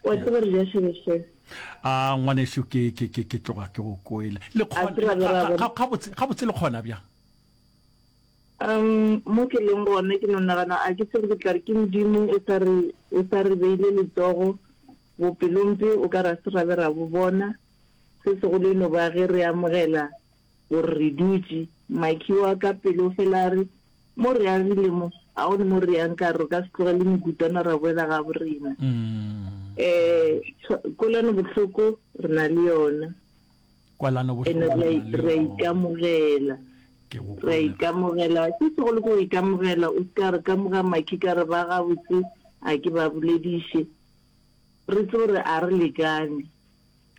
Wa tseba re ja šebešebe. A ngwanešu, ke, ke, ke, ke tloga ke go kwele. Le A kgona, se ra be ga, ra ga, bona. ga, gabotse, gabotse le kgona bjang? Um, mo ke leng gona ke no nagana, a ke tsebe ke tla re ke Modimo o sa re, o sa re beile letsogo, bopelompe o ka re a se ra be ra bo bona. Se segolo e no ba ge re amogela gore re dutše. Makhi wa ka pele o fela a re, Mo re agile mo, ga go ne mo re yang ka re, re ka se tlogele mekutwana ra boela gabo rena. Um, kwelano bohloko re na le yona. Kwelano Ene bohloko re re na le re a yona. ikamogela. Ke go Re a kwele. ikamogela. Se segolo ke go ikamogela, o se ka re ka moga Makhi ka re ba gabotse a ke ba bolediše. Re tsebe gore a re lekane.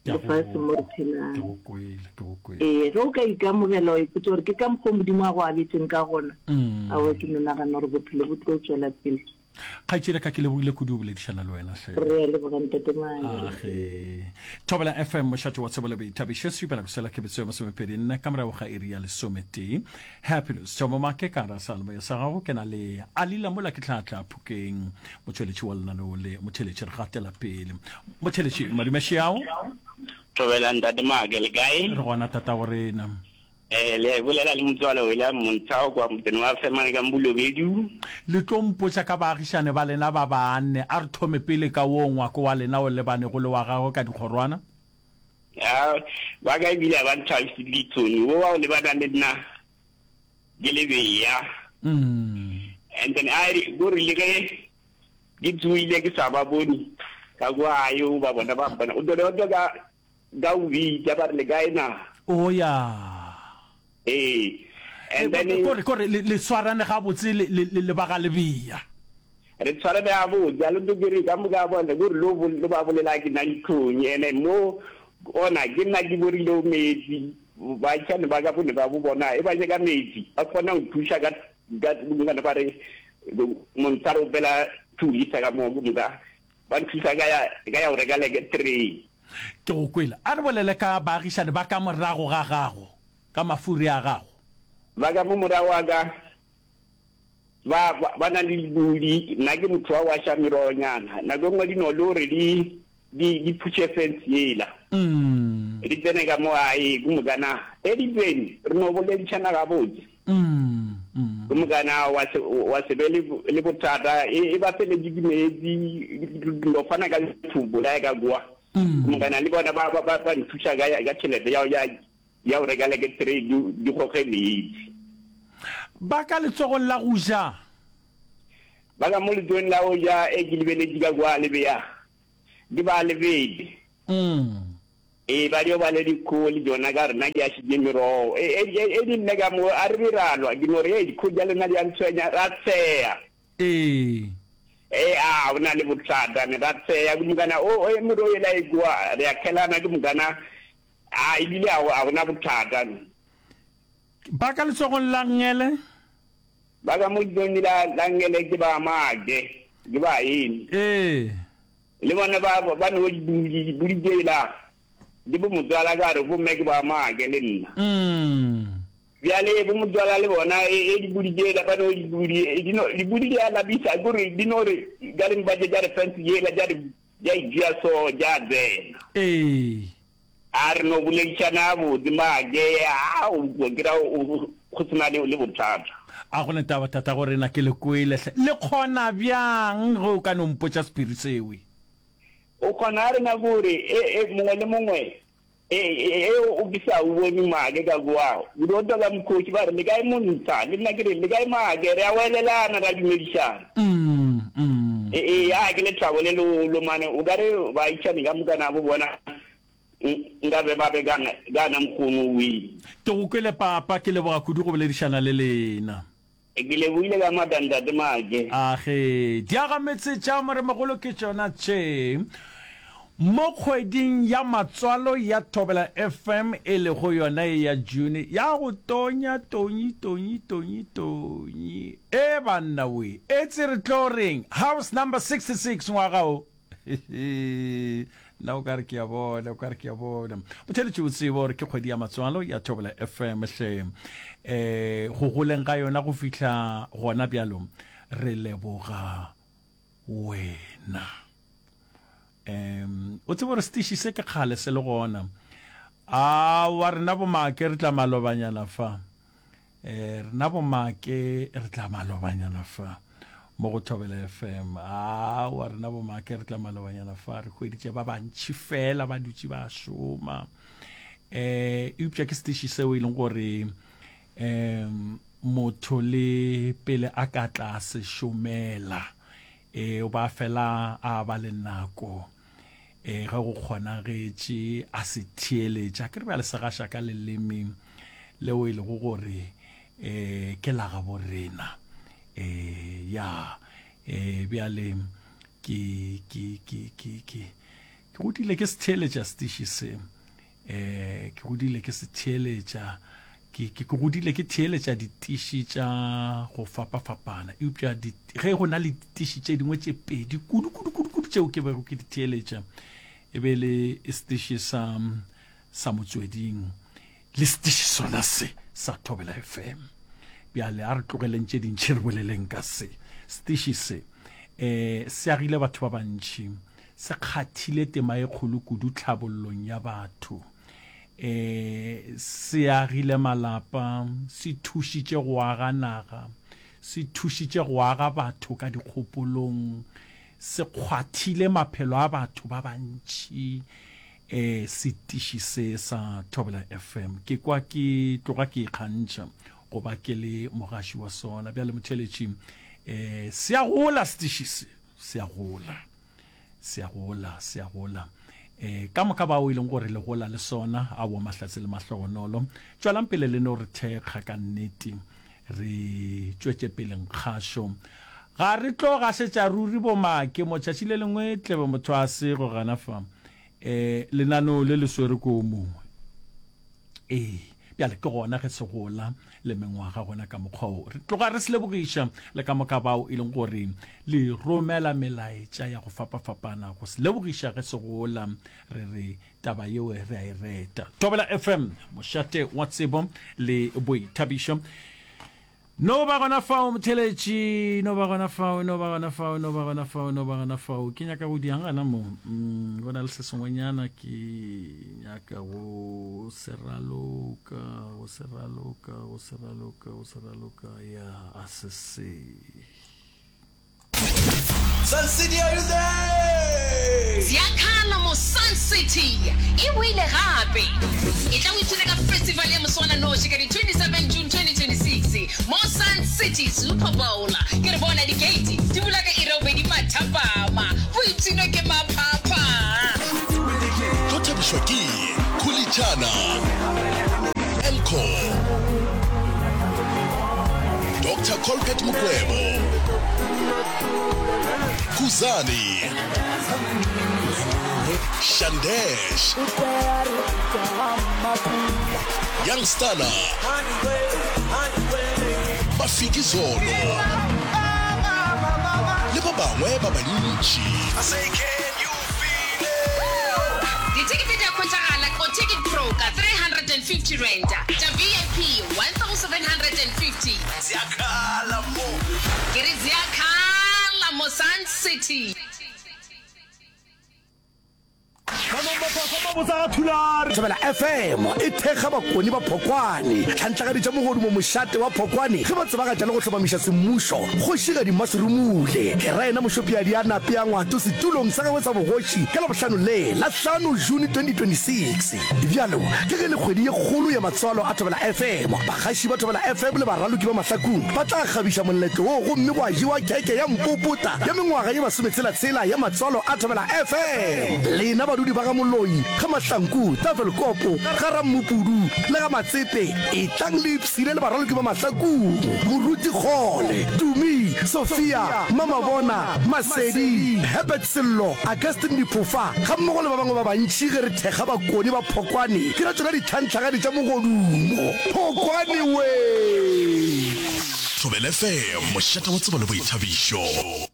Ke a go lefaseng mo re kwa. Ke phelang. go kwele, ke go kwele. Ee, ge o ka ikamogela wa ipotša gore ke ka mokgwa o Modimo a go abetšeng ka gona, aowa ke no nagana gore bophelo bo tlo tšwela pele. Kgaetšedi ka ke lebogile kudu go boledišana le wena hle. Re a leboga Ntate Maake. Age. Thobela F M mošate wa tsebo le boithabišo sepela go sela kebetso ya masomepedi nne ka morago ga iri ya lesometee. Happiness Thomo Make ka gara seyalemoya sa gago ke na le Alila mola ke tla tla Phokeng motšweletši wa lenaneo le motheletši re gatela pele. Motheletši madume šiao. Thobela Ntate Make le kae? Re gona tatago rena. Eh, le bolela le motswalo William Montshao kwa motseng wa Femane ka Mbulobedu. Le tlo mpotša ka baagišane ba lena ba banne. A re thome pele ka woo ngwako wa lena o lebanego le wa gagwe ka dikgorwana. Ya, ba ka ebile ga ba nthabiše ditsoni. Wo wa go lebana le nna ke lebeya. And then a re, ko re le ge ke tsoile ke sa ba bone, ka kwa gae o ba bona ba mpona. O tlo tlo ka ka o bitša ba re le kae na? O ya. Ee. And then Kore kore le le swarane gabotse le le le ba ga Lebea. Re tshwarane gabotse, a le tlo ke re ka moka bona ko re lo lo ba bolela ke na ditlhong ene mo ona ke nna ke borile metsi baagišani ba ka bone ba bo bona e ba nyaka metsi ba kgona go thuša ka ka bongwana ba re montsha re opela two liter ka mo ke moka ba nthusa ka ya ka ya go reka leke three. Ke go kwele. A re bolele ka baagišani ba ka morago ga gago, ka mafuri a gago. Ba ka mo morago ga ka ba ba na le dipudi, nna ke motho wa go aša merogonyana. Nako e nngwe di no le gore di di di phutše fence yela, di tsene ka mo gae, ke mokana ge di tsene re no boledišana gabotse, ke mokana wa se wa se be le le bothata. E, e ba feletše ke meetse, no fana ka lethobo la ka kwa, ke mokana le bona ba ba ba nthuša ka ka tšhelete ya ya ya go reka leke three di di goge meetse. Ba ka letsogong la go ja. Ba ka mo letsogong la go ja e ke lebeletše ka kwa le bea, ke ba lebele. Ee, ba dio ba le dikgogo le tšona ka re nna ke ašitše merogo. E, e, e, e di nne ka mo, a re be ra lwa, ke no re, Hei, dikgogo tša lena di a ntshwenya. Ra tsheya. Ee. Ee, a go na le bothata, ne ra tsheya ke mokana, o, e merogo yela e kwa, re a khelana ke mokana, a ebile a go, a go na bothata. Ba ka letsogong la nngele. Ba ka mo letsogong la, la nngele ke ba Maake, ke ba eng. Ee. Le bona ba, ba no di, dipudi tšela, di bo motswala ka re, Bomme ke ba Maake le nna. Mm. Bjale bo motswala le bona, e, e dipudi tšela, ba no dipudi, e, di no, dipudi di a lapisa, ke gore di no re, ka re mpa tše tša re fence yela, tša re, tša e tšea so, tša tsena. Ee. A re no boledišana gabotse, Maake, a o ke ra o, go se na le, le bothata. A go ne taba, tatago rena, ke le kwele hle. Le kgona bjang ge o ka no mpotša sephiri sewe? O kgona a rena gore e, e, mongwe le mongwe, e, e, e o ke sa o bone Maake ka kua, o dio twa ka mokgoši ba re, Le kae montsha? Le nna ke re, Le kae Maake? Re a welelana, ra dumedišana. Mm, mm. E, e, a ke lethabo le legolo mane, o ka re baagišani ka moka nabo bona nka be ba be ka na mokgono wee. Ke go kwele papa, ke leboga kudu go boledišana le lena. Ke lebohile ka maatla ntate Maake. Age, diagametse tša Moremogolo ke tšona tše. Mo kgweding ya matswalo ya Thobela F M e lego yona ye ya June ya go tonya tonyi tonyi tonyi tonyi. E banna we, etse re tlo reng? House number sixty six ngwaga o. Nna o ka re ke a bona, o ka re ke a bona. Motheletši o tsebe gore ke kgwedi ya matswalo ya Thobela F M hle. Um go goleng ga yona go fihla gona bjalo, re leboga wena. Um o tsebe gore setiši se ke kgale se le gona. Aowa, rena bomake re tla malobanyana fa. Eh, rena bomake re tla malobanyana fa mo go Thobela F M. Aowa, rena bomake re tla malobanyana fa, re hweditše ba bantši fela ba dutše ba šoma. Eh, eupša ke setiši seo e leng gore um motho le pele a ka tla se šomela, e o ba fela a ba le nako e ge go kgonagetše a se theeletša. Ke re bjale se gaša ka leleme leo e lego gore um ke la gabo rena. um ya um bjale ke ke ke ke ke ke godile ke se theeletša setiši se. um ke godile ke se theeletša, ke ke ke godile ke theeletša ditiši tša go fapafapana, eupša ge go na le ditiši tše dingwe tše pedi kudu kudu kudu kudu tšeo ke bego ke di theeletša, e be le setiši sa sa Motsweding le setiši sona se sa Thobela F M. Bjale a re tlogeleng tše dintši, re boleleng ka se setiši se. um se agile batho ba bantši, se kgathile tema e kgolo kudu tlhabollong ya batho, um se agile malapa, se thušitše go aga naga, se thušitše go aga batho ka dikgopolong, se kgwathile maphelo a batho ba bantši. um setiši se sa Thobela F M, ke kwa ke tloga ke ikgantšha go ba ke le mogaši wa sona. Bjale motheletši, um se a gola setiši se, se a gola, se a gola, se a gola. um ka moka bao e leng gore le gola le sona, aowa, mahlatse le mahlogonolo, tšwelang pele le no re thekga. Ka nnete re tšwetše pele nkgašo, ga re tlo gašetša ruri bomake. Mo tšatši le lengwe tlebe motho a se go gana fa um lenaneo le le swere ko mongwe. Ee, bjale ke gona ge se gola le mengwaga gona ka mokgwa o. Re tloga re se lebogiša le ka moka bao e leng gore le romela melaetša ya go fapafapana go se lebogiša ge se gola. Re re taba yeo re a e reta. Thobela F M, mošate wa tsebo le boithabišo. No ba gona fao motheletši, no ba gona fao, no ba gona fao, no ba gona fao, no ba gona fao. Ke nyaka go diang gana mo? Mm, go na le se sengwenyana ke nyaka go se raloka, go se raloka, go se raloka, go se raloka. Ya, a se se. Sun City, are you there? Ziakhala mo Sun City e boile gape! Etla o ipshine ka festival ya moswananoši ka di twenty-seven June twenty twenty-six mo Sun City Super Bowl. Ke re bona di-gate di bula Pat Mokwebo, Khuzani, Shandesh, Young Stunna, Mafikizolo le ba bangwe ba bantši. Dithekete di a hwetšagala go Ticket Pro ka three hundred and fifty rand, tša V I P one thousand hundred and fifty. Ziyakhala mo. Ke re ziyakhala mo Sun City. Thobela F M e thekga Bakoni ba Phokwane, tlhantlagaditša mogodumo mošate wa Phokwane ge ba tsebagatša le go hlomamiša semmušo Kgošigadi Mmaserumule ke ra yena Mošopiadi a nape a Ngwato setulong sa gagwe sa bogoši ka Labohlano le la hlano June twenty twenty-six. Bjalo ke ge le kgwedi ye kgolo ya matswalo a Thobela F M, bagaši ba Thobela F M le baraloki ba Mahlakung ba tla kgabiša moletlo wo gomme gwa jewa kheke ya mpopota ya mengwaga ye masometshela-tshela ya matswalo a Thobela F M. Lena badudi ba ga Moloi, ga Mahlanku, Tafelkopo, ga Rammupudu le ga Matsepe, etlang le ipshine le baraloki ba Mahlakung, Moruti Kgole, Tumi, Sophia, Mamabona, Masedi, Herbert Sello, Augustine Diphofa gammogo le ba bangwe ba bantši ge re thekga Bakoni ba Phokwane ke ra tšona ditlhantlhagadi tša mogodumo. Phokwane wee! Thobela F M, mošate wa tsebo le boithabišo.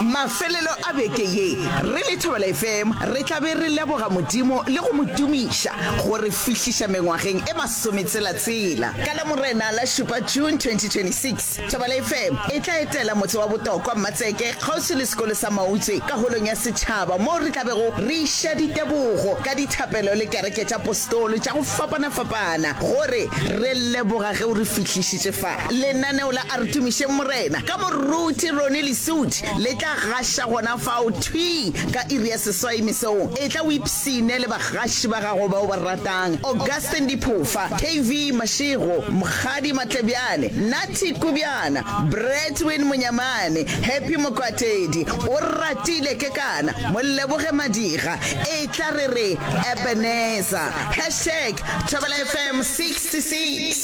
Mafelelo a beke ye, re le Thobela F M re tla be re leboga Modimo le go mo tumiša go re fihliša mengwageng e masometshela-tshela. Ka Lamorena la šupa June twenty twenty-six, Thobela F M e tla etela motse wa Botokwa Mmatseke kgauswi le sekolo sa Mautse ka holong ya setšhaba moo re tla bego re iša ditebogo ka dithapelo le kereke tša postolo tša go fapana-fapana gore re leboga ge o re fihlišitše fa. Lenaneo la A Re Tumišeng Morena ka Moruti Ronnie Lesudi le tla gaša gona fao thwii ka iri ya seswai mesong. Etla o ipshine le bagaši ba gago ba o ba ratang, Augustine Diphofa, K V Mashego, Mokgadi Matlebjane, Nathi Kubjana, Bradwin Monyamane, Happy Mokwatedi, O Ratile Kekana, Moleboge Madiga. Etla re re Ebenezer. Hashtag Thobela F M sixty-six.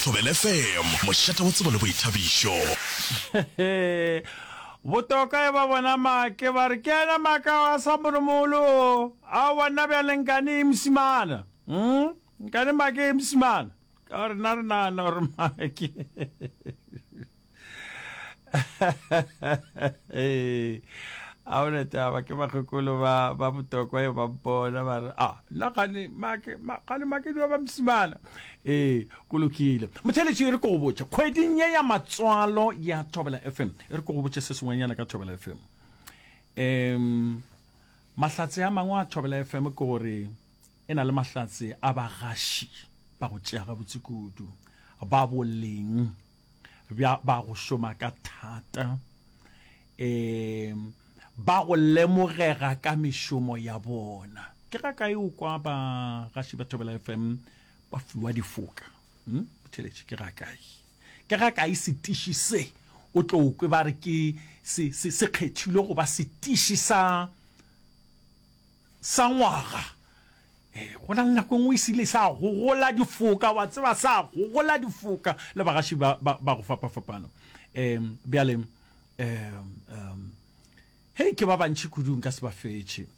Thobela F M, mošate wa tsebo le boithabišo. Botoka e ba bona make ba re ke yena maka wa sa moromolo aowa nna bjale nkane e mosimana mm? Nkane make e mosimana ka gore nna re nagana gore make a ona taba ke bakgekolo ba ba Botokwa e ba mpona ba re a nna gane make gane make di ba mosimana. Ee, go lokile. Motheletši e re ko go botše kgweding ye ya matswalo ya Thobela F M, e re ko go botše se sengwenyana ka Thobela F M. Um mahlatse a mangwe a Thobela F M ke gore e na le mahlatse a bagaši ba go tšea gabotse kudu, ba boleng bja ba go šoma ka thata, um ba go lemogega ka mešomo ya bona. Ke ga kae o kwa bagaši ba Thobela F M ba fiwa difoka? Hmm? Motheletši, ke ga kae? Ke ga kae setiši se o tlo kwe ba re ke se, se, se kgethilwe go ba setiši sa, sa ngwaga? Eh, go na le nako e nngwe e sile sa gogola difoka, wa tseba, sa gogola difoka le bagaši ba, ba, ba go fapafapana. Um bjale um um hei ke ba bantši kudu nka se ba fetše.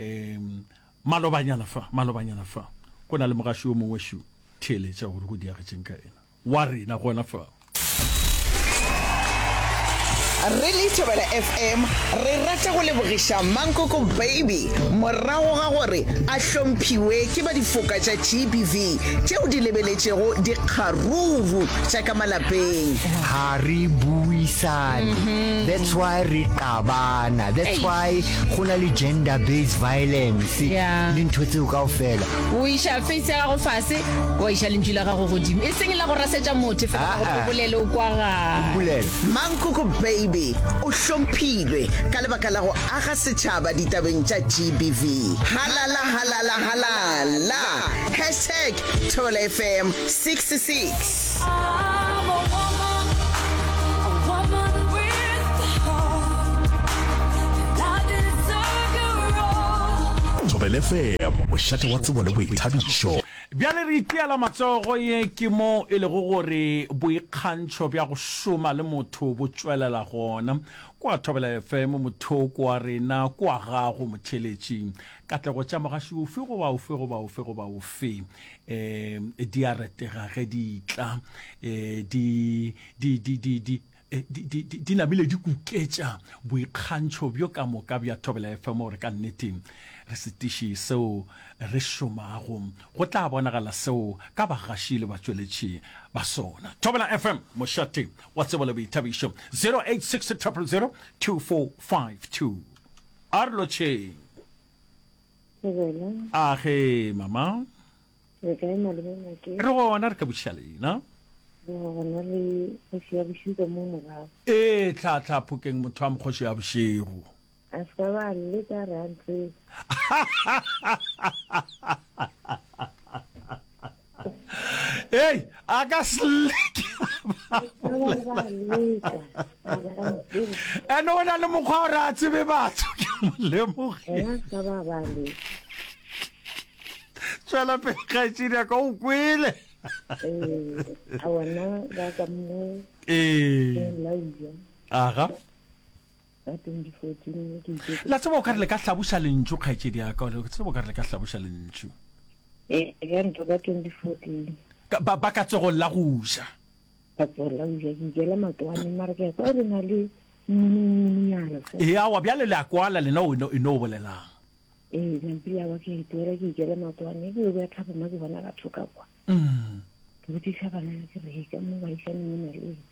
Um malobanyana fa, malobanyana fa go na le mogaši yo mongwe šo theeletša gore go diagetšeng ka ena wa rena gona fa. Re le Thobela F M re rata go lebogiša Mankoko Baby morago ga gore a hlomphiwe ke ba difoka tša G B V tšeo di lebeletšego dikgaruru tša ka malapeng. Ga re buisane, that's why re qabana, that's why go na le gender based violence le ntho tseo kaofela. O iša face ya gago fase, wa iša lentšu la gago godimo, e seng la go rasetša motho fela gore o bolele o kwagale. Mankoko Baby o hlomphilwe ka lebaka la go aga setšhaba ditabeng tša G B V. Halala halala halala! Hashtag Thobela F M sixty-six. Thobela F M, mošate wa tsebo le boithabišo. Bjale re itiela matsogo, ye ke mo e lego gore boikgantšho bja go šoma le motho bo tšwelela gona. Kwa Thobela FM, mothoko wa rena, kwa gago motheeletši. Katlego tša mogaši ofe goba ofe goba ofe goba ofe um di a retega ge di tla, um di, di, di, di, di, di, di, di, di namile di kuketša boikgantšho bjo ka moka bja Thobela FM gore ka nnete re setiši seo re šomago. Go tla bonagala seo ka bagaši le batšweletši ba sona. Thobela FM, mošate wa tsebo le boithabišo. Zero eight six triple zero two four five two. A re lotšheng. Thobela. A ge, mama. Re kae malome Make? Re gona, re ka botšiša lena. Re gona le kgoši ya bošego ka mo morago. Ee, tlhahla Phokeng motho wa mokgoši ya bošego. A se ka ba leka re a ntseba. Ei, a ka se leke. Ene o na le mokgwa gore a tsebe batho, ke mo lemogile. Tšwela pele kgaetšedi ya ka, o kwele. Ee. Aga. La tseba o ka re le ka hlaboša lentšu, kgaetšedi ya ka, o tseba o ka re le ka hlaboša lentšu. Ee, ka ntlo ka twenty fourteen. Ka, ba, ba ka tsogong la go ja. Ka tsogong la go ja, ke ikela matwane, mara ke a kwa re na le mmununyana fela. Ee, aowa, bjale le a kwala lena o eno, eno o bolelang. Ee, nampile aowa ke a itwela, ke ikela matwane, ke yo bja thapama ke bona batho ka kwa. Mm. Ke botšiša banana ke re, hei, ka mo baišaneng o na le eng?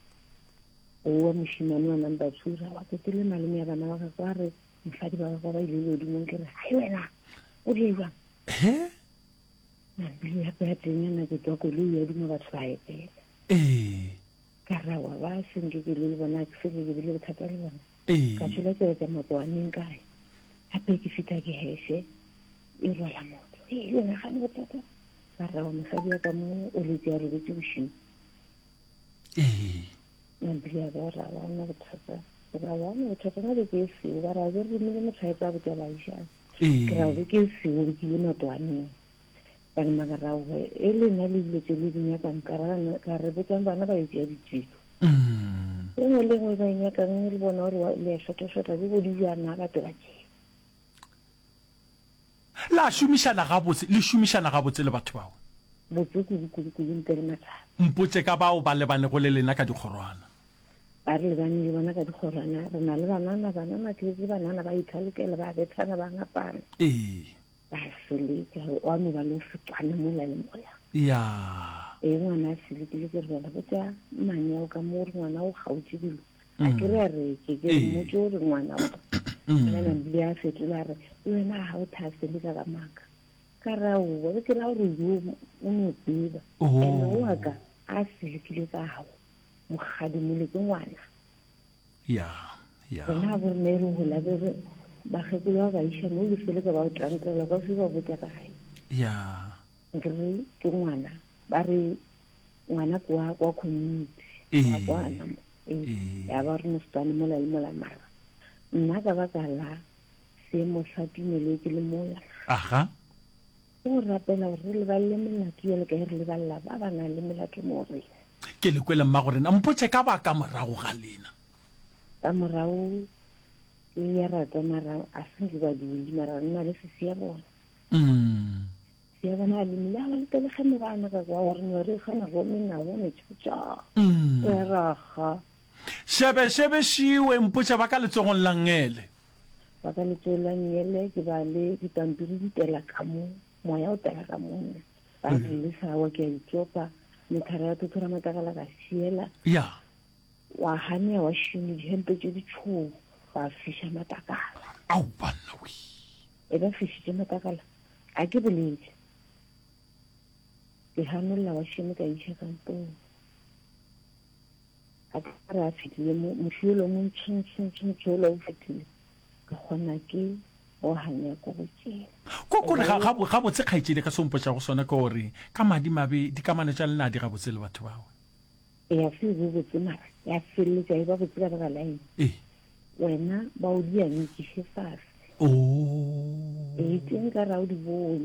Owa mošemane wa number two ra wa tsotele malome ya bana ba gagwe a re mosadi ba gagwe ba ile legodimong ke re hai wena o di jwang he nabile ya ya teng ya nako tswa koloi ya duma batho ba etela ee ka ra wa ba senke ke le bona ke se ke bile bothata le bona ee ka tšwela tsela tsa makoaneng kae gape ke fita ke heshe e rwala motho ee le nagane bothata ka ra wa mosadi wa ka mo o letse a robetse bošego ee Mabili a ba ra ba na bothata ra ba na bothata na be ke seo ba ra be re romile motho a etsa botsa baišane Ee. ke ra be ke seo ke ile matwaneng ba re maka ra we e le nna le dilo tse le di nyakang ka ra ka re botsang bana ba etsa ditiro Mm. e nngwe le nngwe ba e nyakang le bona gore wa- le a šota-šota le bo di jana batho ba tšea La šomišana gabotse, le šomišana gabotse le batho bao. Botse kudu, kudu, kudu, ntle le mathata. Mpotše ka bao ba lebanego le lena ka dikgorwana. Ba re lebane le bona ka dikgorwana. Re na le banana, banana ke ke banana ba ithalokela, ba bethana, ba ngapana. Ee. Ba seleka, wa no ba le go se kwane mola le mola. Ya. Ee, ngwana a selekile, ke re bjale botša mmane ao ka mo gore ngwana o kgaotše dilo. A ke re a re ke ke mmotše gore ngwana o. Yena Nambile a fetola a re, le wena ga o tha seleka ka maaka. Ka re aowa, be ke ra gore yo o no tseba. Ene o wa ka a selekile ka gago, mokgadi mole ke ngwana. Ya, ya. Rena bo rena e re gola be re bakgekolo ba ba iša mo le seleka ba o tantela ka se ba botša ka gae. Ya. Nke re ke ngwana, ba re ngwana ke wa kwa community. Ee. Wa kwana mo. Ee. Ya ba re mosetsana mola le mola mara. Nna ka baka la seemo sa tumelo ke le mola. Aha. Ke go rapela gore re lebalele melato bjalo ka ge re lebalela ba ba nang le melato mo go rena. Ke le kwele mmagorena, mpotše ka ba ka morago ga lena. Ka morago ke ya rata mara a se nke ba dule mara nna le sesi ya bona. Mm. Sesi ya bona a lemile a ba letele ge mebana ka kwa gore no re gana go menago metšhotša. Mm. Ya raga. Šebe šebe šiwe mpotše ba ka letsogong la nngele. Ba ka letsogong la nngele ke ba le dipampiri di tela ka mo, moya o tela ka mo nna. Ba re le sawa ke a itsopa, methara ya thothora matlakala ka šiela. Ya. Wa ganea wa šimo dihempe tše ditšhou, ba fiša matlakala. Ao banna we. E ba fišitše matlakala, a ke bolele. Ke ganolla wa šimo ka iša kampong. A ka re a fetile mo, moši yola o montshontshontshontsho yola o fetile, ka kgona ke go hanya ko go tšela. Ko kore ga, ga, gabotse kgaetšedi ka se o mpotšago sona ke gore ka madimabe dikamano tša lena di gabotse le batho bao. Ya se be botse mara ya feleletša e ba botse ka baka la eng? Ee. Wena ba o di anyekiše fase. Oh. Ee, tše nka ra o di bone.